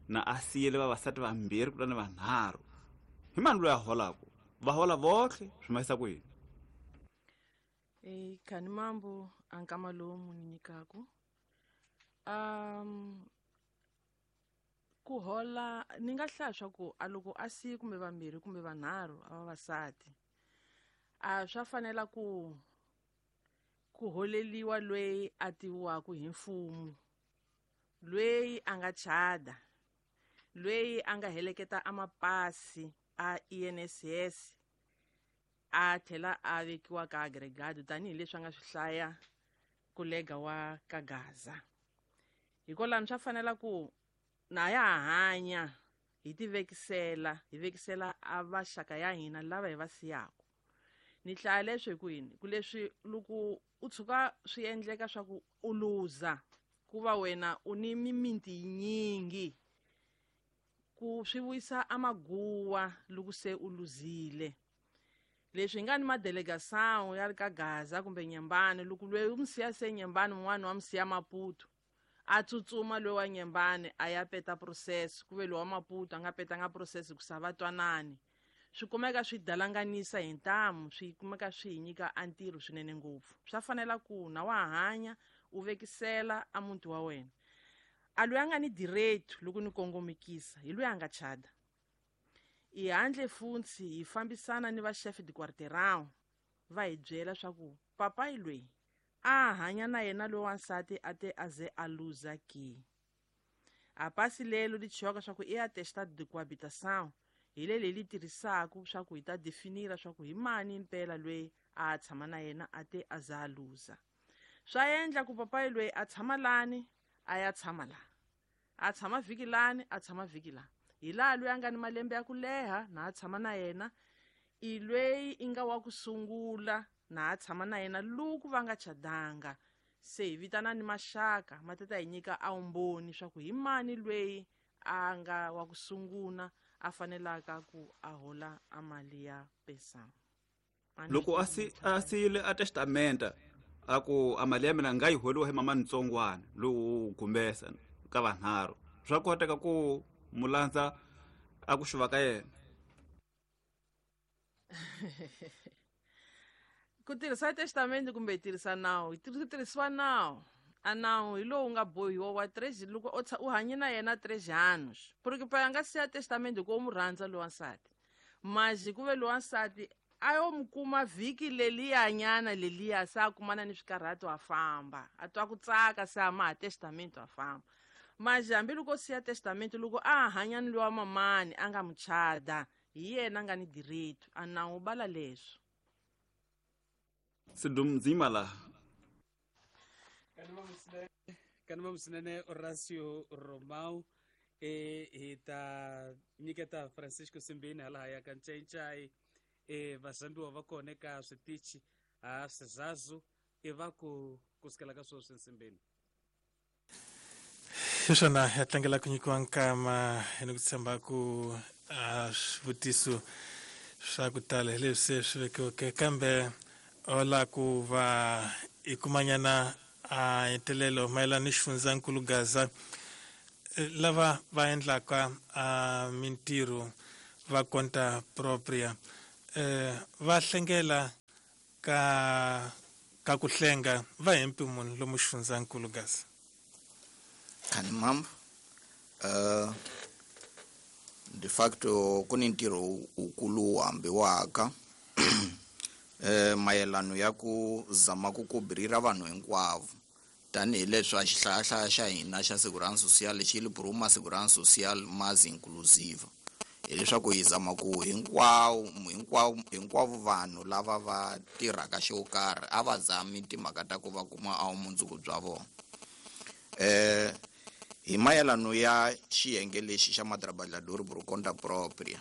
na a siyele vavasati vambirhi kutani vanharhu, hi mani loyi a holaka? Va hola votlhe swi mahisa ku yini? E khani mambo a nkama lowu mu ni nyikaku um ku hola ni nga hlaya swa ku a loko a siye kumbe vambirhi kumbe vanharhu a vavasati a swa fanela ku ku holeliwa loyi a tiviwaka hi mfumo, loyi a nga chada, loyi a nga heleketa a mapasi a I N S S a tlhela a vekiwa ka agregado tanihileswi a nga swi hlaya kolega wa ka Gaza. Hikwalano swa fanela ku na ya hanya hi ti vekisela hi vekisela a vaxaka ya hina lava hi va siyaka. Ni hlaya leswi hi ku yini ku leswi loko u tshuka swi endleka swa ku u luza ku va wena u ni mimiti yinyingi ku swi vuyisa amaguwa loko se u luzile. Leswi hi nga ni madelegação ya ri ka Gaza kumbe Nyembane, loko loyi u mu siya se Nyembane mun'wani wa mu siya Maputo a tsutsuma loyi wa Nyembane a ya peta process, ku ve loyi wa Maputo a nga petanga process ku sa va twanani, swi kumeka swi dalanganisa hi ntamu, swi kumeka swi hi nyika a ntirho swinene ngopfu. Swa fanela ku na wa hanya u vekisela a muti wa wena. A loyi a nga ni direito loko ni kongomekisa hi loyi a nga chada. I handle funtsi hi fambisana ni va chef de quarteirão va hi byela swa ku papayi loyi a hanya na yena loyi wansati a te a ze a luza ki. A pasi lelo li chiwaka swa ku i atestado de coabitação hi leli li tirhisaka swa ku hi ta definira swa ku hi mani impela loyi a tshama na yena a te a za a luza. Swa endla ku papayi loyi a tshama lani a ya tshama la, a tshama vhiki lani a tshama vhiki la, hi laha loyi a nga ni malembe ya ku leha na a tshama na yena i loyi i nga wa ku sungula na a tshama na yena loko va nga chadanga. Se hi vitana ni maxaka ma ta ta hi nyika a vumbhoni swa ku hi mani loyi a nga wa ku sungula a fanelaka ku a hola a mali ya pensão. Loko a si a siyile a testamenta a ku a mali ya mina nga yi holiwa hi mama ntsongwana lowu gumbesa ka vanharhu, swa koteka ku mulandza a ku xuva ka yena? Ku tirhisa testamente kumbe hi tirhisa nawu, hi tirhisiwa nawu. A nawu hi lowu nga bohiwa wa três loko u u hanye na yena três anos, porque pa nga siya testamente ku u mu rhandza loyi wansati, mas ku ve loyi wansati a yo mu kuma vhiki leliyanyana leliya se a kumana ni swikarhato a famba a twa ku tsaka se a maha testamente a famba. Mas hambi loko siya testamente loko a hanya ni loyi wa mamani a nga mu chada hi yena a nga ni direito a nawu bala leswo. Sidumzima laha Kanima Musinene Horacio Romão e hi ta nyiketa Francisco Simbini hala ya ka Ncayincai e vasambiwa va kona eka switichi a swizazu i va ku kusukela ka sweswi Nsimbini. Hi swona ya tlangela ku nyikiwa nkama ni ku tshemba ku a swivutiso swa ku tala hi leswi se swi vekiweke, kambe ola ku va i kumanyana a hetelelo mayelana ni xifundzankulu Gaza lava va endlaka a mintirho va conta propria eh va hlengela ka ka ku hlenga va hempi munhu lomu xifundzankulu Gaza. Kani mambo uh, de facto ku ni ntirho wukulu hambiwaka eh mayelano ya ku zama ku kubirira vanhu hinkwavo tanihileswi a xihlayahlaya xa hina xa Segurança Social xi li Bruma Segurança Social mais inclusive, hileswaku hi zama ku hinkwawo hinkwavo hinkwavo vanhu lava va tirhaka xo karhi a va zami timhaka ta ku va kuma a vumundzuku bya vona. Eh hi mayelano ya xiyenge lexi xa matrabalhador por conta própria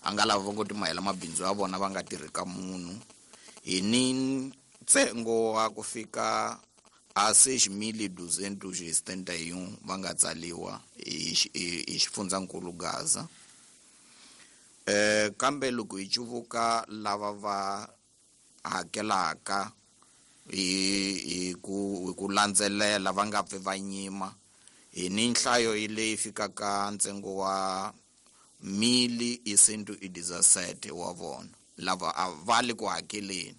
a nga lava ngo timayela mabindzu ya vona va nga tirhi ka munhu hi ni ntsengo wa ku fika a seis mil duzentos e setenta e um va nga tsaliwa hi hi xifundzankulu Gaza. Eh kambe loko hi cuvuka lava va hakelaka hi hi ku hi ku landzelela va nga pfi va nyima hi ni nhlayo leyi fikaka ntsengo wa mil e cento e dezessete wa vona lava a va le ku hakeleni.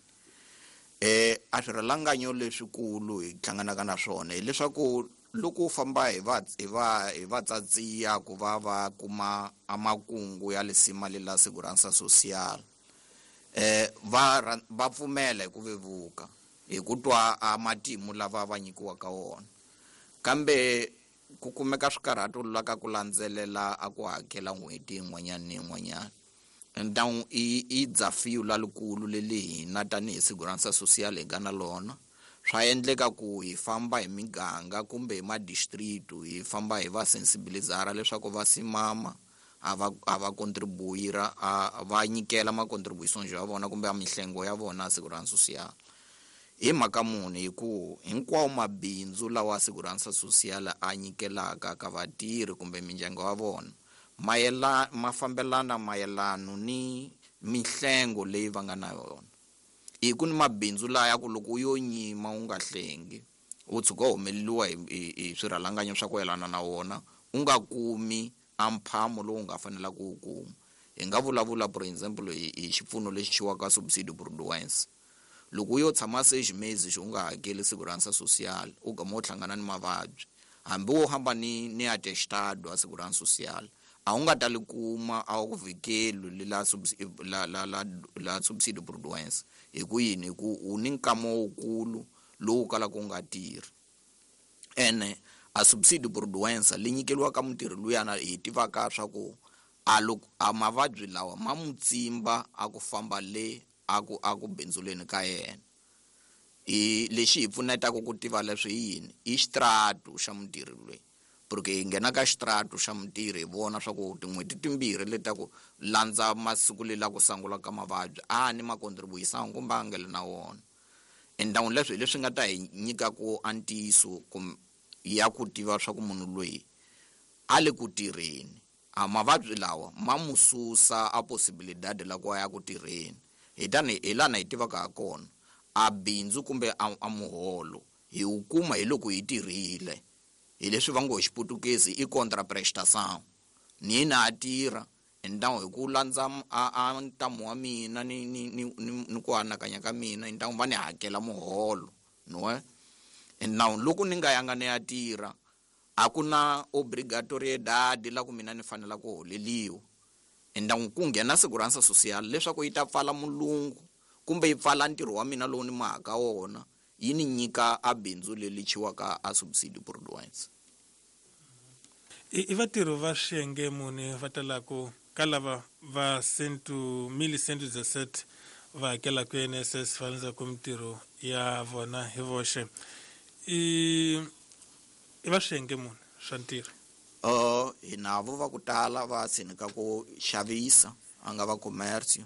Eh a swirhalanganyo leswikulu hi hlanganaka na swona hileswaku loko u famba hi va hi va hi va tsatsiya ku va va kuma amakungu ya lisima lela Segurança Social eh va va pfumela hi ku vevuka hi ku twa a matimu lava va nyikiwaka wona, kambe ku kumeka swikarhato la ka ku landzelela a ku hakela n'hweti yin'wanyana ni yin'wanyana. Então i i desafio lalikulu leli hina tanihi Segurança Social hi nga na lona. Swa endleka ku hi famba hi miganga kumbe hi madistritu hi famba hi va sensibilizara leswaku va simama a va a va contribuira a va nyikela ma contributions ya vona kumbe a mihlengo ya vona Segurança Social. Hi mhaka muni hi ku hinkwawo mabindzu lawa Segurança Social a nyikelaka ka vatirhi kumbe mindyangu ya vona mayela ma fambelana mayelano ni mihlengo leyi va nga na yona. Hi ku ni mabindzu laya ku loko u yo nyima u nga hlengi u tshuka u humeleriwa hi hi swirhalanganyo swa ku yelana na wona u nga kumi a mphamo lowu nga fanela ku wu kuma. Hi nga vulavula for example hi hi xipfuno lexi xiwaka subsidio por doença. Loko u yo tshama seis meses u nga hakeli Segurança Social u gama u hlangana ni mavabyi hambi wo hamba ni ni atestado a Segurança Social a wu nga ta li kuma a wu ku vhikeli la la la la la subsidio por doença. Hi ku yini? Hi ku u ni nkama wukulu lowu kalaka u nga tirhi ene a subsidio por doença li nyikeliwaka mutirhi luyana hi tivaka swa ku a loko a mavabyi lawa ma mu tsimba a ku famba le a ku a ku bindzuleni ka yena. I lexi hi pfunetaka ku tiva leswi hi yini i xitratu xa mutirhi loyi, porque hi nghena ka xitratu xa mutirhi hi vona swa ku tin'hweti timbirhi leti ta ku landza masiku lela ku sungula ka mavabyi a ni ma contribuyisangi kumbe a nga le na wona. Endhawu leswi hi leswi nga ta hi nyika ku a ntiyiso ya ku tiva swa ku munhu loyi a le ku tirheni a mavabyi lawa ma mu susa a possibilidade la ku a ya ku tirheni. Hi tani hi lana hi tivaka ha kona a bindzu kumbe a, a muholo hi wu kuma hi loko hi tirhile. Hi leswi va ngo hi xiputukezi i contraprestação. Ni na a tirha endhawu hi ku landza a, a ntamu wa mina ni ni ni ni ku anakanya ka mina endhawu va ni hakela muholo no eh endhawu loko ni nga yanga ni ya tirha a ku na obrigatoriedade la ku mina ni fanela ku holeliwa. Endhawu ku nghena Segurança Social leswaku yi ta pfala mulungu kumbe yi pfala ntirho wa mina lowu ni mahaka wona yi ni nyika a bindzu leri chiwaka a subsidio por doença. I vatirhi va xiyenge muni va talaku ka lava va cento mil cento dezessete va hakelaka I N S S va landzaku mintirho ya vona hi voxe i i va xiyenge muni swa ntirho? Uh, hi navo va ku tala va tshinika ku xavisa a nga va commercio.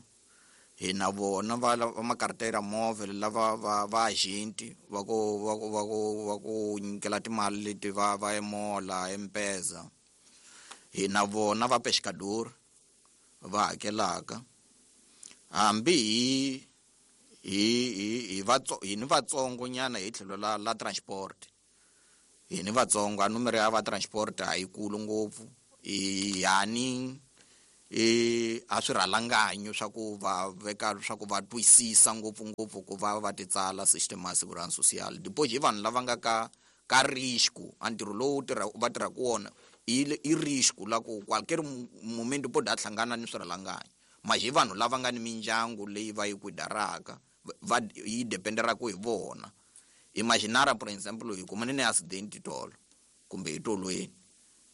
Hi na vona va va makartera móvel lava va va agenti va ku va ku va ku va ku nyikela timali leti va va emola M-Pesa. Hi na vona va pescador va hakelaka hambi hi Hi hi hi vatso hi ni vatsongo nyana hi tlhelo la la transport. Hi ni vatsongo a numero ya va transport a yi kulu ngopfu. I yani e a swi rhalanganyo swa ku va veka swa ku va twisisa ngopfu ngopfu ku va va ti tsala system ya segurança social. Depois hi vanhu lava nga ka ka risco, a ntirho lowu tirha va tirhaka wona i i risco la ku qualquer momento pode a hlangana ni swirhalanganyo. Mas hi vanhu lava nga ni mindyangu leyi va yi kuidaraka va yi dependeraka hi vona. Imaginara por exemplo hi kumane ni accident tolo kumbe hi tolweni,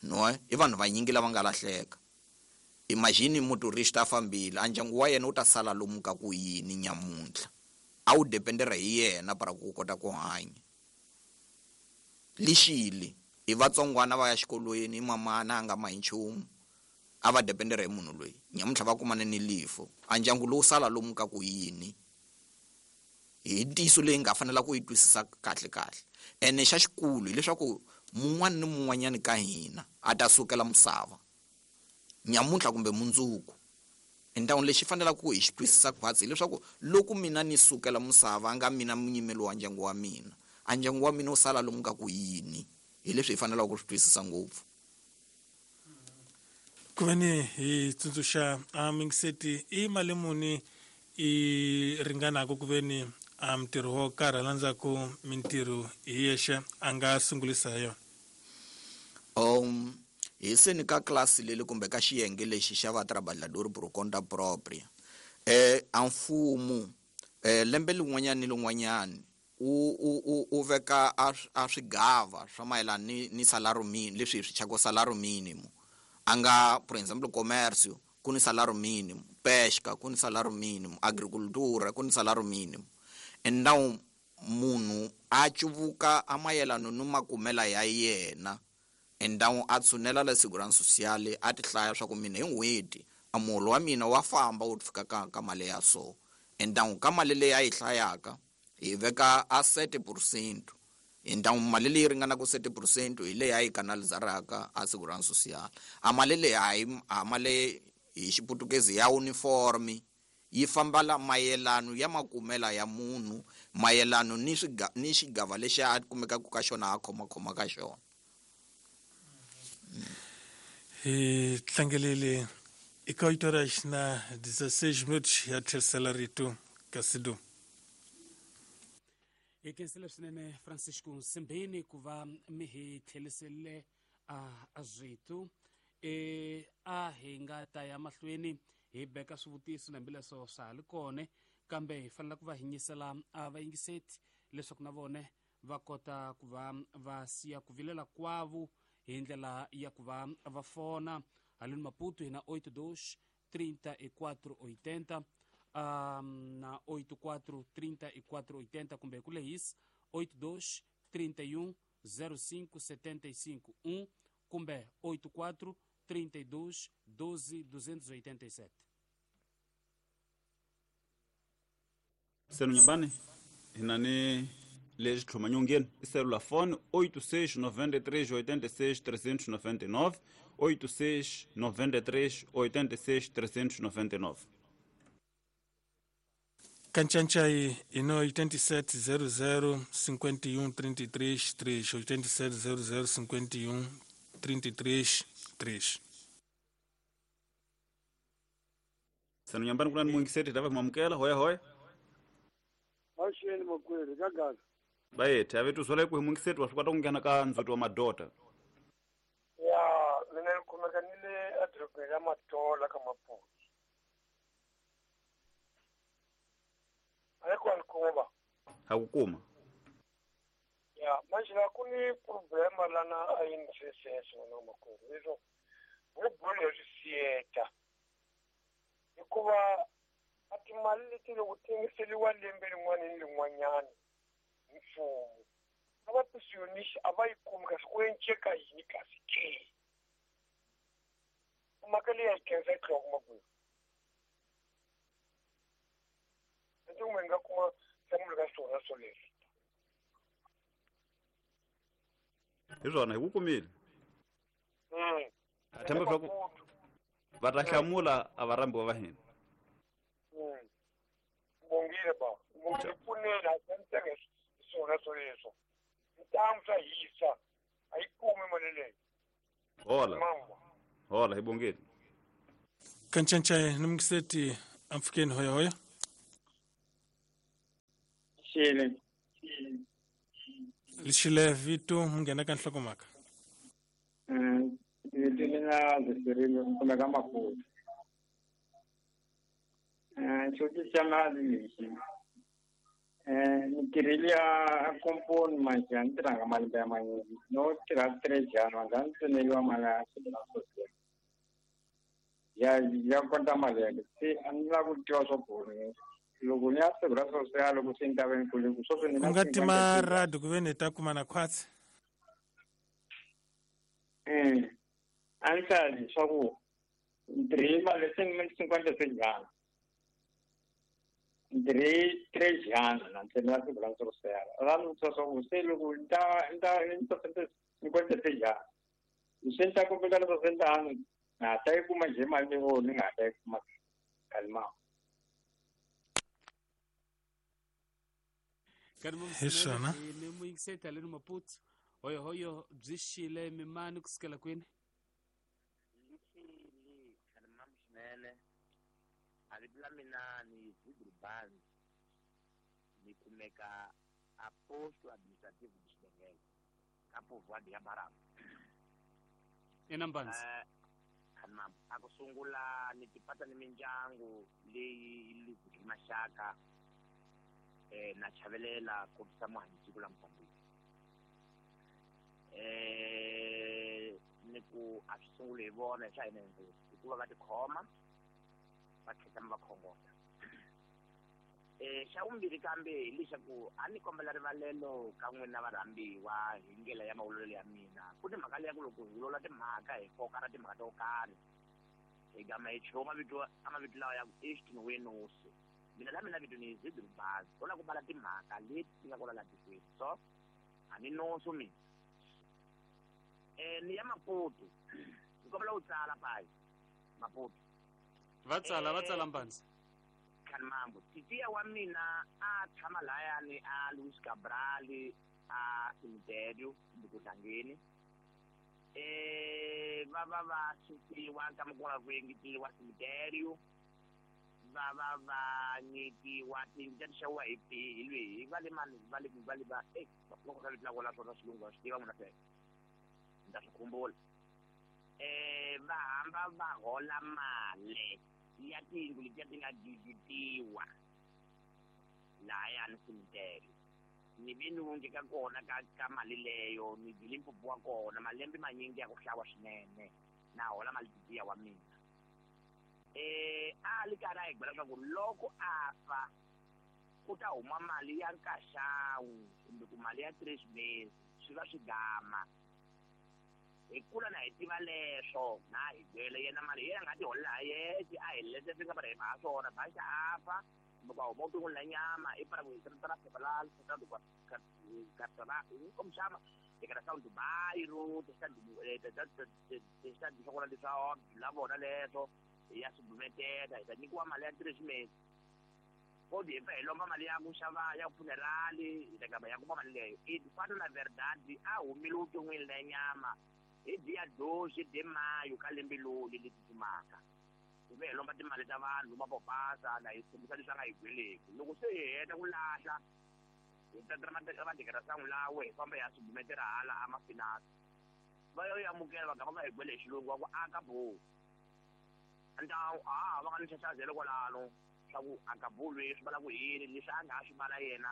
no i vanhu vanyingi lava nga lahleka. Imagine motorista a fambile a ndyangu wa yena wu ta sala lomu ka ku yini nyamuntlha, a wu dependera hi yena para ku kota ku hanya. Lixile i vatsongwana va ya xikolweni, i mamana a nga mahi nchumu, a va dependera hi munhu loyi. Nyamuntlha va kumane ni lifo, a ndyangu lowu sala lomu ka ku yini. Hi ntiyiso leyi nga fanela ku yi twisisa kahle kahle. Ene xa xikulu hileswaku mun'wana ni mun'wanyani ka hina a ta sukela misava nyamuntlha kumbe mundzuku. Endhawu lexi fanelaka ku hi xi twisisa khwatsi hileswaku loko mina ni sukela misava a nga mina munyimeli wa ndyangu wa mina, a ndyangu wa mina wu sala lomu ka ku yini. Hi leswi hi fanelaka ku swi twisisa ngopfu. Ku ve ni hi tsundzuxa a mingiseti i mali muni i ringanaka ku ve ni a mintirho wo karhi hala ndzhaku mintirho hi yexe a nga sungulisa hi yona? Um hi seni ka klasi leli kumbe ka xiyenge lexi xa va trabalhador por conta própria, eh a mfumo eh lembe lin'wanyana ni lin'wanyana u u u veka a swigava swa mayelana ni ni salario mínimo, leswi hi swi chaka salario mínimo. A nga por exemplo comércio ku ni salario mínimo, pesca ku ni salario mínimo, agricultura ku ni salario mínimo. Então munhu a cuvuka a mayelana ni makumela ya yena, então a tshunela la segurança social a ti hlaya swa ku mina hi n'hweti a muholo wa mina wa famba wu fika ka ka mali ya so. Então ka mali leyi a yi hlayaka hi veka a sete por cento. Então mali leyi ringanaka sete por cento hi leyi a yi kanalizaraka a segurança social. A mali leyi a yi a mali hi xiputukezi ya uniforme yi famba la mayelano ya makumela ya munhu, mayelano ni swiga ni xigava lexi a kumekaka ka xona a khomakhoma ka xona. Hi tlangelele eka oito horas na dezesseis minutos ya tlherisela rito ka Sidu. Hi khensile swinene Francisco Nsimbini ku va mi hi tlherisele a rito. E a hi nga ta ya mahlweni hi beka swivutiso na hambileswo swa ha ri kona, kambe hi fanele ku va hi nyisela a vayingiseti leswaku na vona va kota ku va va siya ku vilela kwavo hi ndlela ya ku va va fona. Haleni Maputo hi na oito dois trinta e quatro oitenta, um, na oito quatro trinta e quatro oitenta kumbe hi ku lehisa oito dois trinta e um zero cinco setenta e cinco um kumbe oito quatro trinta e dois doze duzentos e oitenta e sete. Senu nyumbani hinani lexi tlhomanyongeni i cellular phone oito seis noventa e três oitenta e seis trezentos e noventa e nove, oito seis noventa e três oitenta e seis trezentos e noventa e nove. Canchanchay ino oitenta e sete zero zero cinquenta e um trinta e três três, oitenta e sete zero zero cinquenta e um trinta e três três. Senu nyumbani kuna ni mwingiseti tava kumamukela hoya hoya. Axeni makweri ka gaza. Bayethe ave tuzwela ku hi mwingiseti wa swi kota ku nghena ka ndzhuti wa madota. Ya mina ni kumeka ni le edorobeni ra Matola ka Maputo. A yi kona kuma. Ha ku kuma. Ya manje la ku ni problema lana a yi ni sesese wena makwerhu leswo vo bolo swi siyeta hikuva a timali leti loko ti engeteriwa lembe rin'wana ni rin'wanyana hi mfumo a va pensionist a va yi kumi kasi ku enceka yini kasi ke mhaka leyi a yi khensa yi tlhela kuma kwihi ndzi kumbe ni nga kuma nhlamulo ka swona swoleswo. Hi swona hi ku kumile. A tshemba swa ku va ta hlamula a va rhambiwa va hina. Bongile ba. Kumbe pfunela a tshamiseka hi swona swoleswo. Ntamu swa hisa a yi kumi mali leyi. Hola. Hola hi bongile. Kancancaye nimngiseti amfukeni hoya hoya. Xile. Lixile vito munghena ka nhlokomhaka. Mm, vito mina Zisirile kumeka Maputo. Eh, xivutiso xa mali lexi. Eh, ni tirhile ya komponi manje a ni tirhanga malembe ya manyingi. No tirha three jana manje a ni tsemeliwa mali ya social. Ya ya konta mali ya se a ni lava ku tiva swa ku loko ni ya Segurança Social loko se ni ta va ni kule ku sweswi ni U nga tima radio ku ve ni ta kuma na khwatsi. Eh, a ni hlaya leswaku ni tirhile mali se ni cinquenta sejana. Ni tirhe three jana na tsemela Segurança Social. Va ni vutisa swa ku se loko ni ta ni ta ni ta cinquenta sejana. Se ni ta kombela leswaku se ni ta na ta yi kuma njhe mali leyi ni nga ta yi kuma kalima. Hi swona. Ni muyingiseti haleni Maputo. Hoyo hoyo byi xile mimani kusukela kwini? Lixile khalimam swinene. A vito la mina ni Zidru Banzi. Ni kumeka a posto administrativo de Xidengele ka povoado ya Barama. Ina Mbanzi. Khalimam a ku sungula ni tipata ni mindyangu leyi luzeke maxaka eh na chavelela kotisa muhanyisiko la Mozambique. Eh ni ku a swi sungule hi vona swa hina hinkwenu hikuva va tikhoma va tlhela va khongota. Eh xa vumbirhi kambe hi leswaku a ni kombela rivalelo ka n'wina varhambiwa hi ndlela ya mavulelo ya mina. Ku ni mhaka leya ku loko hi vulavula timhaka hi koka na timhaka to karhi hi gama hi chuha mavito a mavito lawa ya ku Easton Wenosi. Mina la mina vito ni Zidru Bazi. Ko la ku bala timhaka leti ti nga kona laha tikweni. So a ni noso mina. Eh ni ya Maputo. Ni kombela u tsala payi Maputo. Va tsala va tsala Mbanzi. Khanimambo titiya wa mina a tshama layani a Luis Cabral a cemitério kumbe ku tlangeni. Eh va va va susiwa ka mukula ku engeteriwa cemitério. Va va va nyikiwa tiyindlu ta ti xaviwa hi hi lweyi va le mani va le va le va eh loko ka vito la kona swona xilungu wa swi tiva n'wina sweswo ni ta swi khumbula. Eh va hamba va hola mali ya tiyindlu letiya ti nga giditiwa lahayani cemitério. Ni ve ni wonge ka kona ka ka mali leyo ni dyile mpfupu wa kona malembe manyingi ya ku hlawa swinene na hola mali tiya wa mina. Eh a li karhi a hi byela leswaku loko a fa ku ta huma mali ya nkaxawu kumbe ku mali ya three mesi swi va swi gama. Hi kula na hi tiva leswo na hi byele yena mali yena a nga ti holela ha yexe a hi lete swi nga va hi ha swona baxa a fa kumbe ku huma vuton'wini la nyama i para ku hi ra phepha la como chama declaração do bairro testado swa kona leswa la vona leswo hi ya swi hi ta nyikiwa mali ya three mesi. Kodi hi pfa hi lomba mali ya ku xava ya funeral hi ta gama ya kuma mali leyo. I fana na verdade a humile vuton'wini la nyama hi dia doze de maio ka lembe loli leri tsutsumaka. Hi ve hi lomba timali ta vanhu va popasa na hi tshembisa leswi a nga hi gweleki. Loko se hi heta ku lahla hi tatela madekerasangu lawe hi famba hi ya swi hala a mafinasi. Va yo amukela va gama va hi gwele hi xilungu va ku aka bo. Então a va nga ni xaxazelo kwalano swa ku acabou leswi va la ku yini leswi a nga ha swi vala yena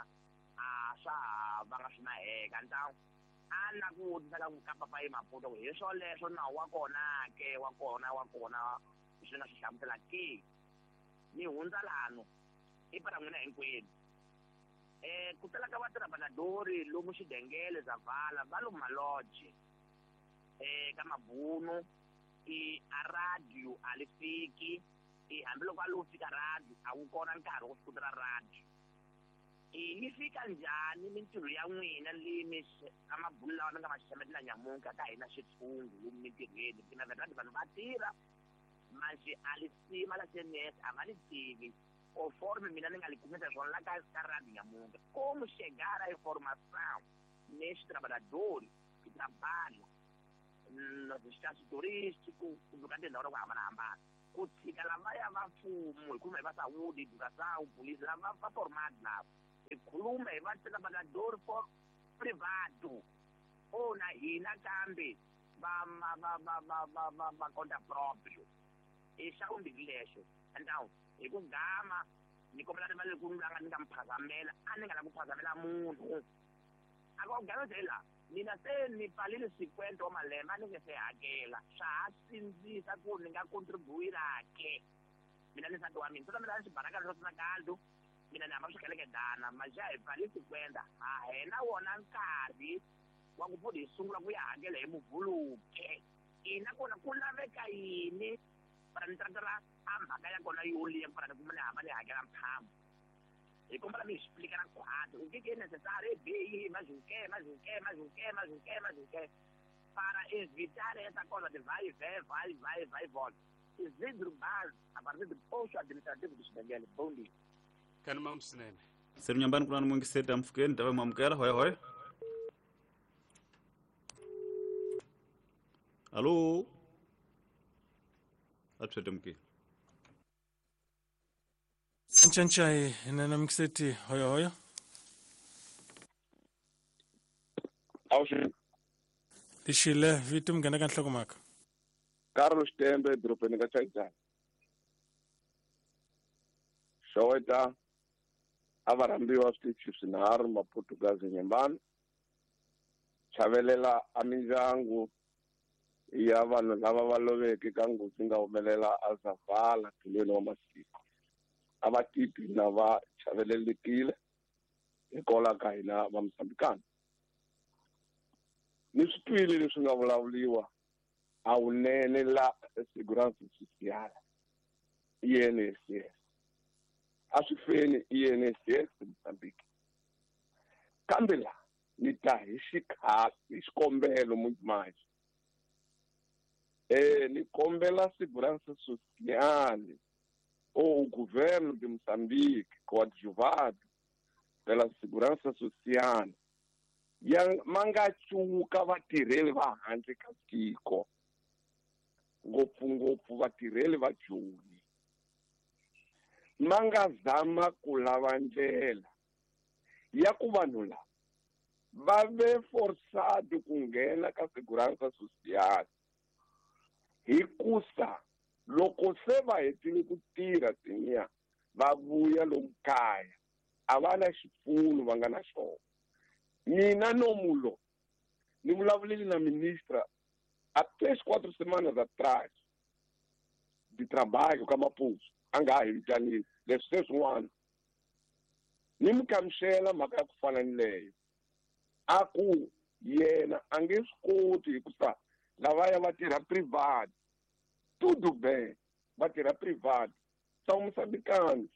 a swa ha va nga swi maheka. Então a na ku vutisa ka ka papayi Maputo ku hi swoleswo nawu wa kona ke wa kona wa kona leswi ni nga swi hlamusela ke. Ni hundza lano i para n'wina hinkwenu. Eh ku tala ka vatirhabanadori lomu Xidengele Zavala va lomu malodge eh ka mabunu i a radio a li fiki i hambiloko a lo fika radio a wu kona nkarhi wo swi ra radio. I yi fika njhani mintirho ya n'wina leyi mi ka mabulu lawa mi nga ma xaxametela nyamuntlha ka hina xitshungu lomu mintirhweni tina verdade vanhu va tirha manje a li sima la C N S a va li tivi. Conforme mina ni nga lhe kumisa swona la ka ka rádio nyamuntlha, como chegar a informação nesses trabalhadores que trabalham nos espaços turísticos, kumbe ka tindhawu ta ku hambanahambana, ku tshika lavaya va mfumo, hi khuluma hi va saúde, educação, polícia, lava va formado lava, hi khuluma hi va trabalhador for privado ou na hina kambe va va va va va va va va conta próprio. I xa vumbirhi lexo. Então hi ku gama ni kombela rivalelo ku ni nga mi phazamela, a ni nga lavi ku phazamela munhu. A ku gama la mina se ni pfalile cinquenta wa malembe a ni nge se hakela, swa ha sindzisa ku ni nga contribuira ke mina ni nsati wa mina swi ta mina xibarakana xo tsina kaldo mina ni hamba swikelekedana maja hi pfalile cinquenta ha hena wona nkarhi wa ku futhi hi sungula ku ya hakela hi muvhuluke. Ina kona ku laveka yini para ni tratela a mhaka ya kona yo liya para ni kuma ni hamba ni hakela mphambo. Hi kombela mi explica na quadro o que que é necessário, B I, mais o quê, mais o quê, mais o quê, mais o quê, mais o quê, para evitar essa coisa de vai e vem, vai, vai, vai e volta. Isidro Baz, a partir do posto administrativo do Xibengele. Bom dia. Kanuma msinene. Seri nyambani kuna mwingi seta mfukeni, tawe mwamukela, hoi hoi. Alo. Atshete mke. Nchanchai nana mkiseti hoyo hoyo. Awushi. Lishile vitu mgana kan hlokomaka. Carlos Tembe dropeni ka Chaitana. Showeta avarambiwa switichi swinharhu Maportugazi Nyembani. Chavelela a mindyangu ya vanhu lava va loveke ka nghozi nga humelela a Zavala tulweni wa masiku. A va titwi na va chavelelekile hikwalaho ka hina va Mozambikana. Ni swi twile leswi nga vulavuriwa a wunene la Segurança Social I N S S. A swi feni I N S S Mozambique. Kambe la ni ta hi xikhala hi xikombelo manje. Eh ni kombela Segurança Social ou o governo de Moçambique, coadjuvado pela Segurança Social, ya mangachuka vatirheli va handle ka tiko, ngopfungopfu vatirheli va Joni, ma nga zama ku lava ndlela ya ku vanhu lava va ve forçado ku nghena ka Segurança Social hikusa loko se va hetile ku tirha tiniya va vuya lomu kaya a va na xipfuno va nga na xona. Mina nomulo ni vulavulile na ministra há três, quatro semanas atrás de trabalho ka Maputo, a nga ha hi vitanile leswi se swin'wana ni mi kamuxela mhaka ya ku fana ni leyo, a ku yena a nge swi koti hikusa lavaya va tirha private, tudo bem, va tirha private são moçambicanos.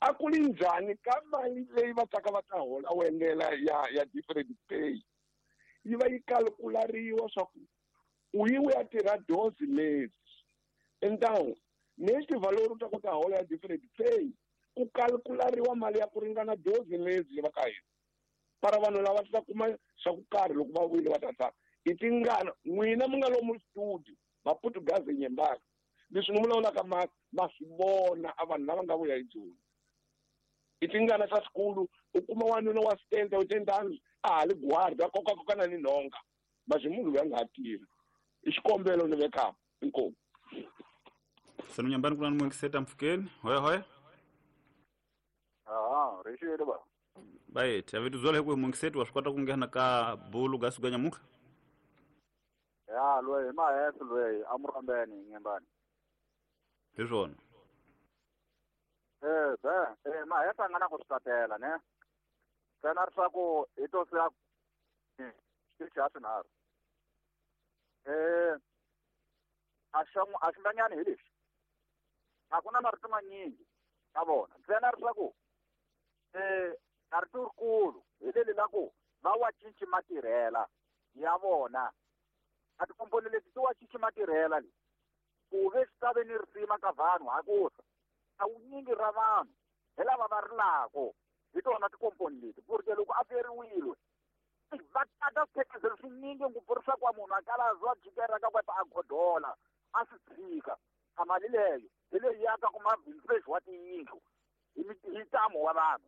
A ku li njhani ka mali leyi va taka va ta hola wendela ya ya different pay yi va yi calculariwa swa ku u yi u ya tirha doze meses, então neste valor u ta kota hola ya different pay ku calculariwa mali ya ku ringana doze meses leyi va ka hina para vanhu lava ta kuma swa ku karhi loko va vuyile va ta tsaka i tingana n'wina mi nga lomu studio Maportugazi Nyembani leswi ni vulavulaka ma ma swi vona a vanhu lava nga vuya hi Joni i tingana ta swikulu u kuma wanuna wa setenta oitenta anos a ha li guarda a kokakokana ni nhonga mas munhu loyi a nga ha tirhi i xikombelo ni vekaka inkomu. Senu Nyambani kuna ni mwingiseta mfukeni hoya hoya. Ah, rixile ba. Bayet, a vitu zola hi ku mwingiseti wa swi kota ku nghena ka bulu ga suka nyamuka. Ya loyi maheso loyi a murambeni Nyembani. Hi swona. Eh be, eh maheso a nga na ku swi tatela ne. Ntsena ri swa ku hi to siya xitichi ha swinharhu. Eh a xa a xi hi lexi. A ku na marito manyingi ka vona. Ntsena ri swa ku eh a rito rikulu hi leli la ku va wa cinci matirhela ya vona. A tikomponi leti ti wa cinci matirhela leti ku ve swi ta ve ni risima ka vanhu hakusa A wunyingi ra vanhu hi lava va rilako hi tona tikomponi leti porque loko a feriwile va tata swiphekizelo swinyingi ngopfu leswaku wa munhu a kala a jikela ka kwata a godola a swi tshika a mali leyo hi leyi yaka ku mabindzu lexi wa tiyindlu hi ntamu wa vanhu.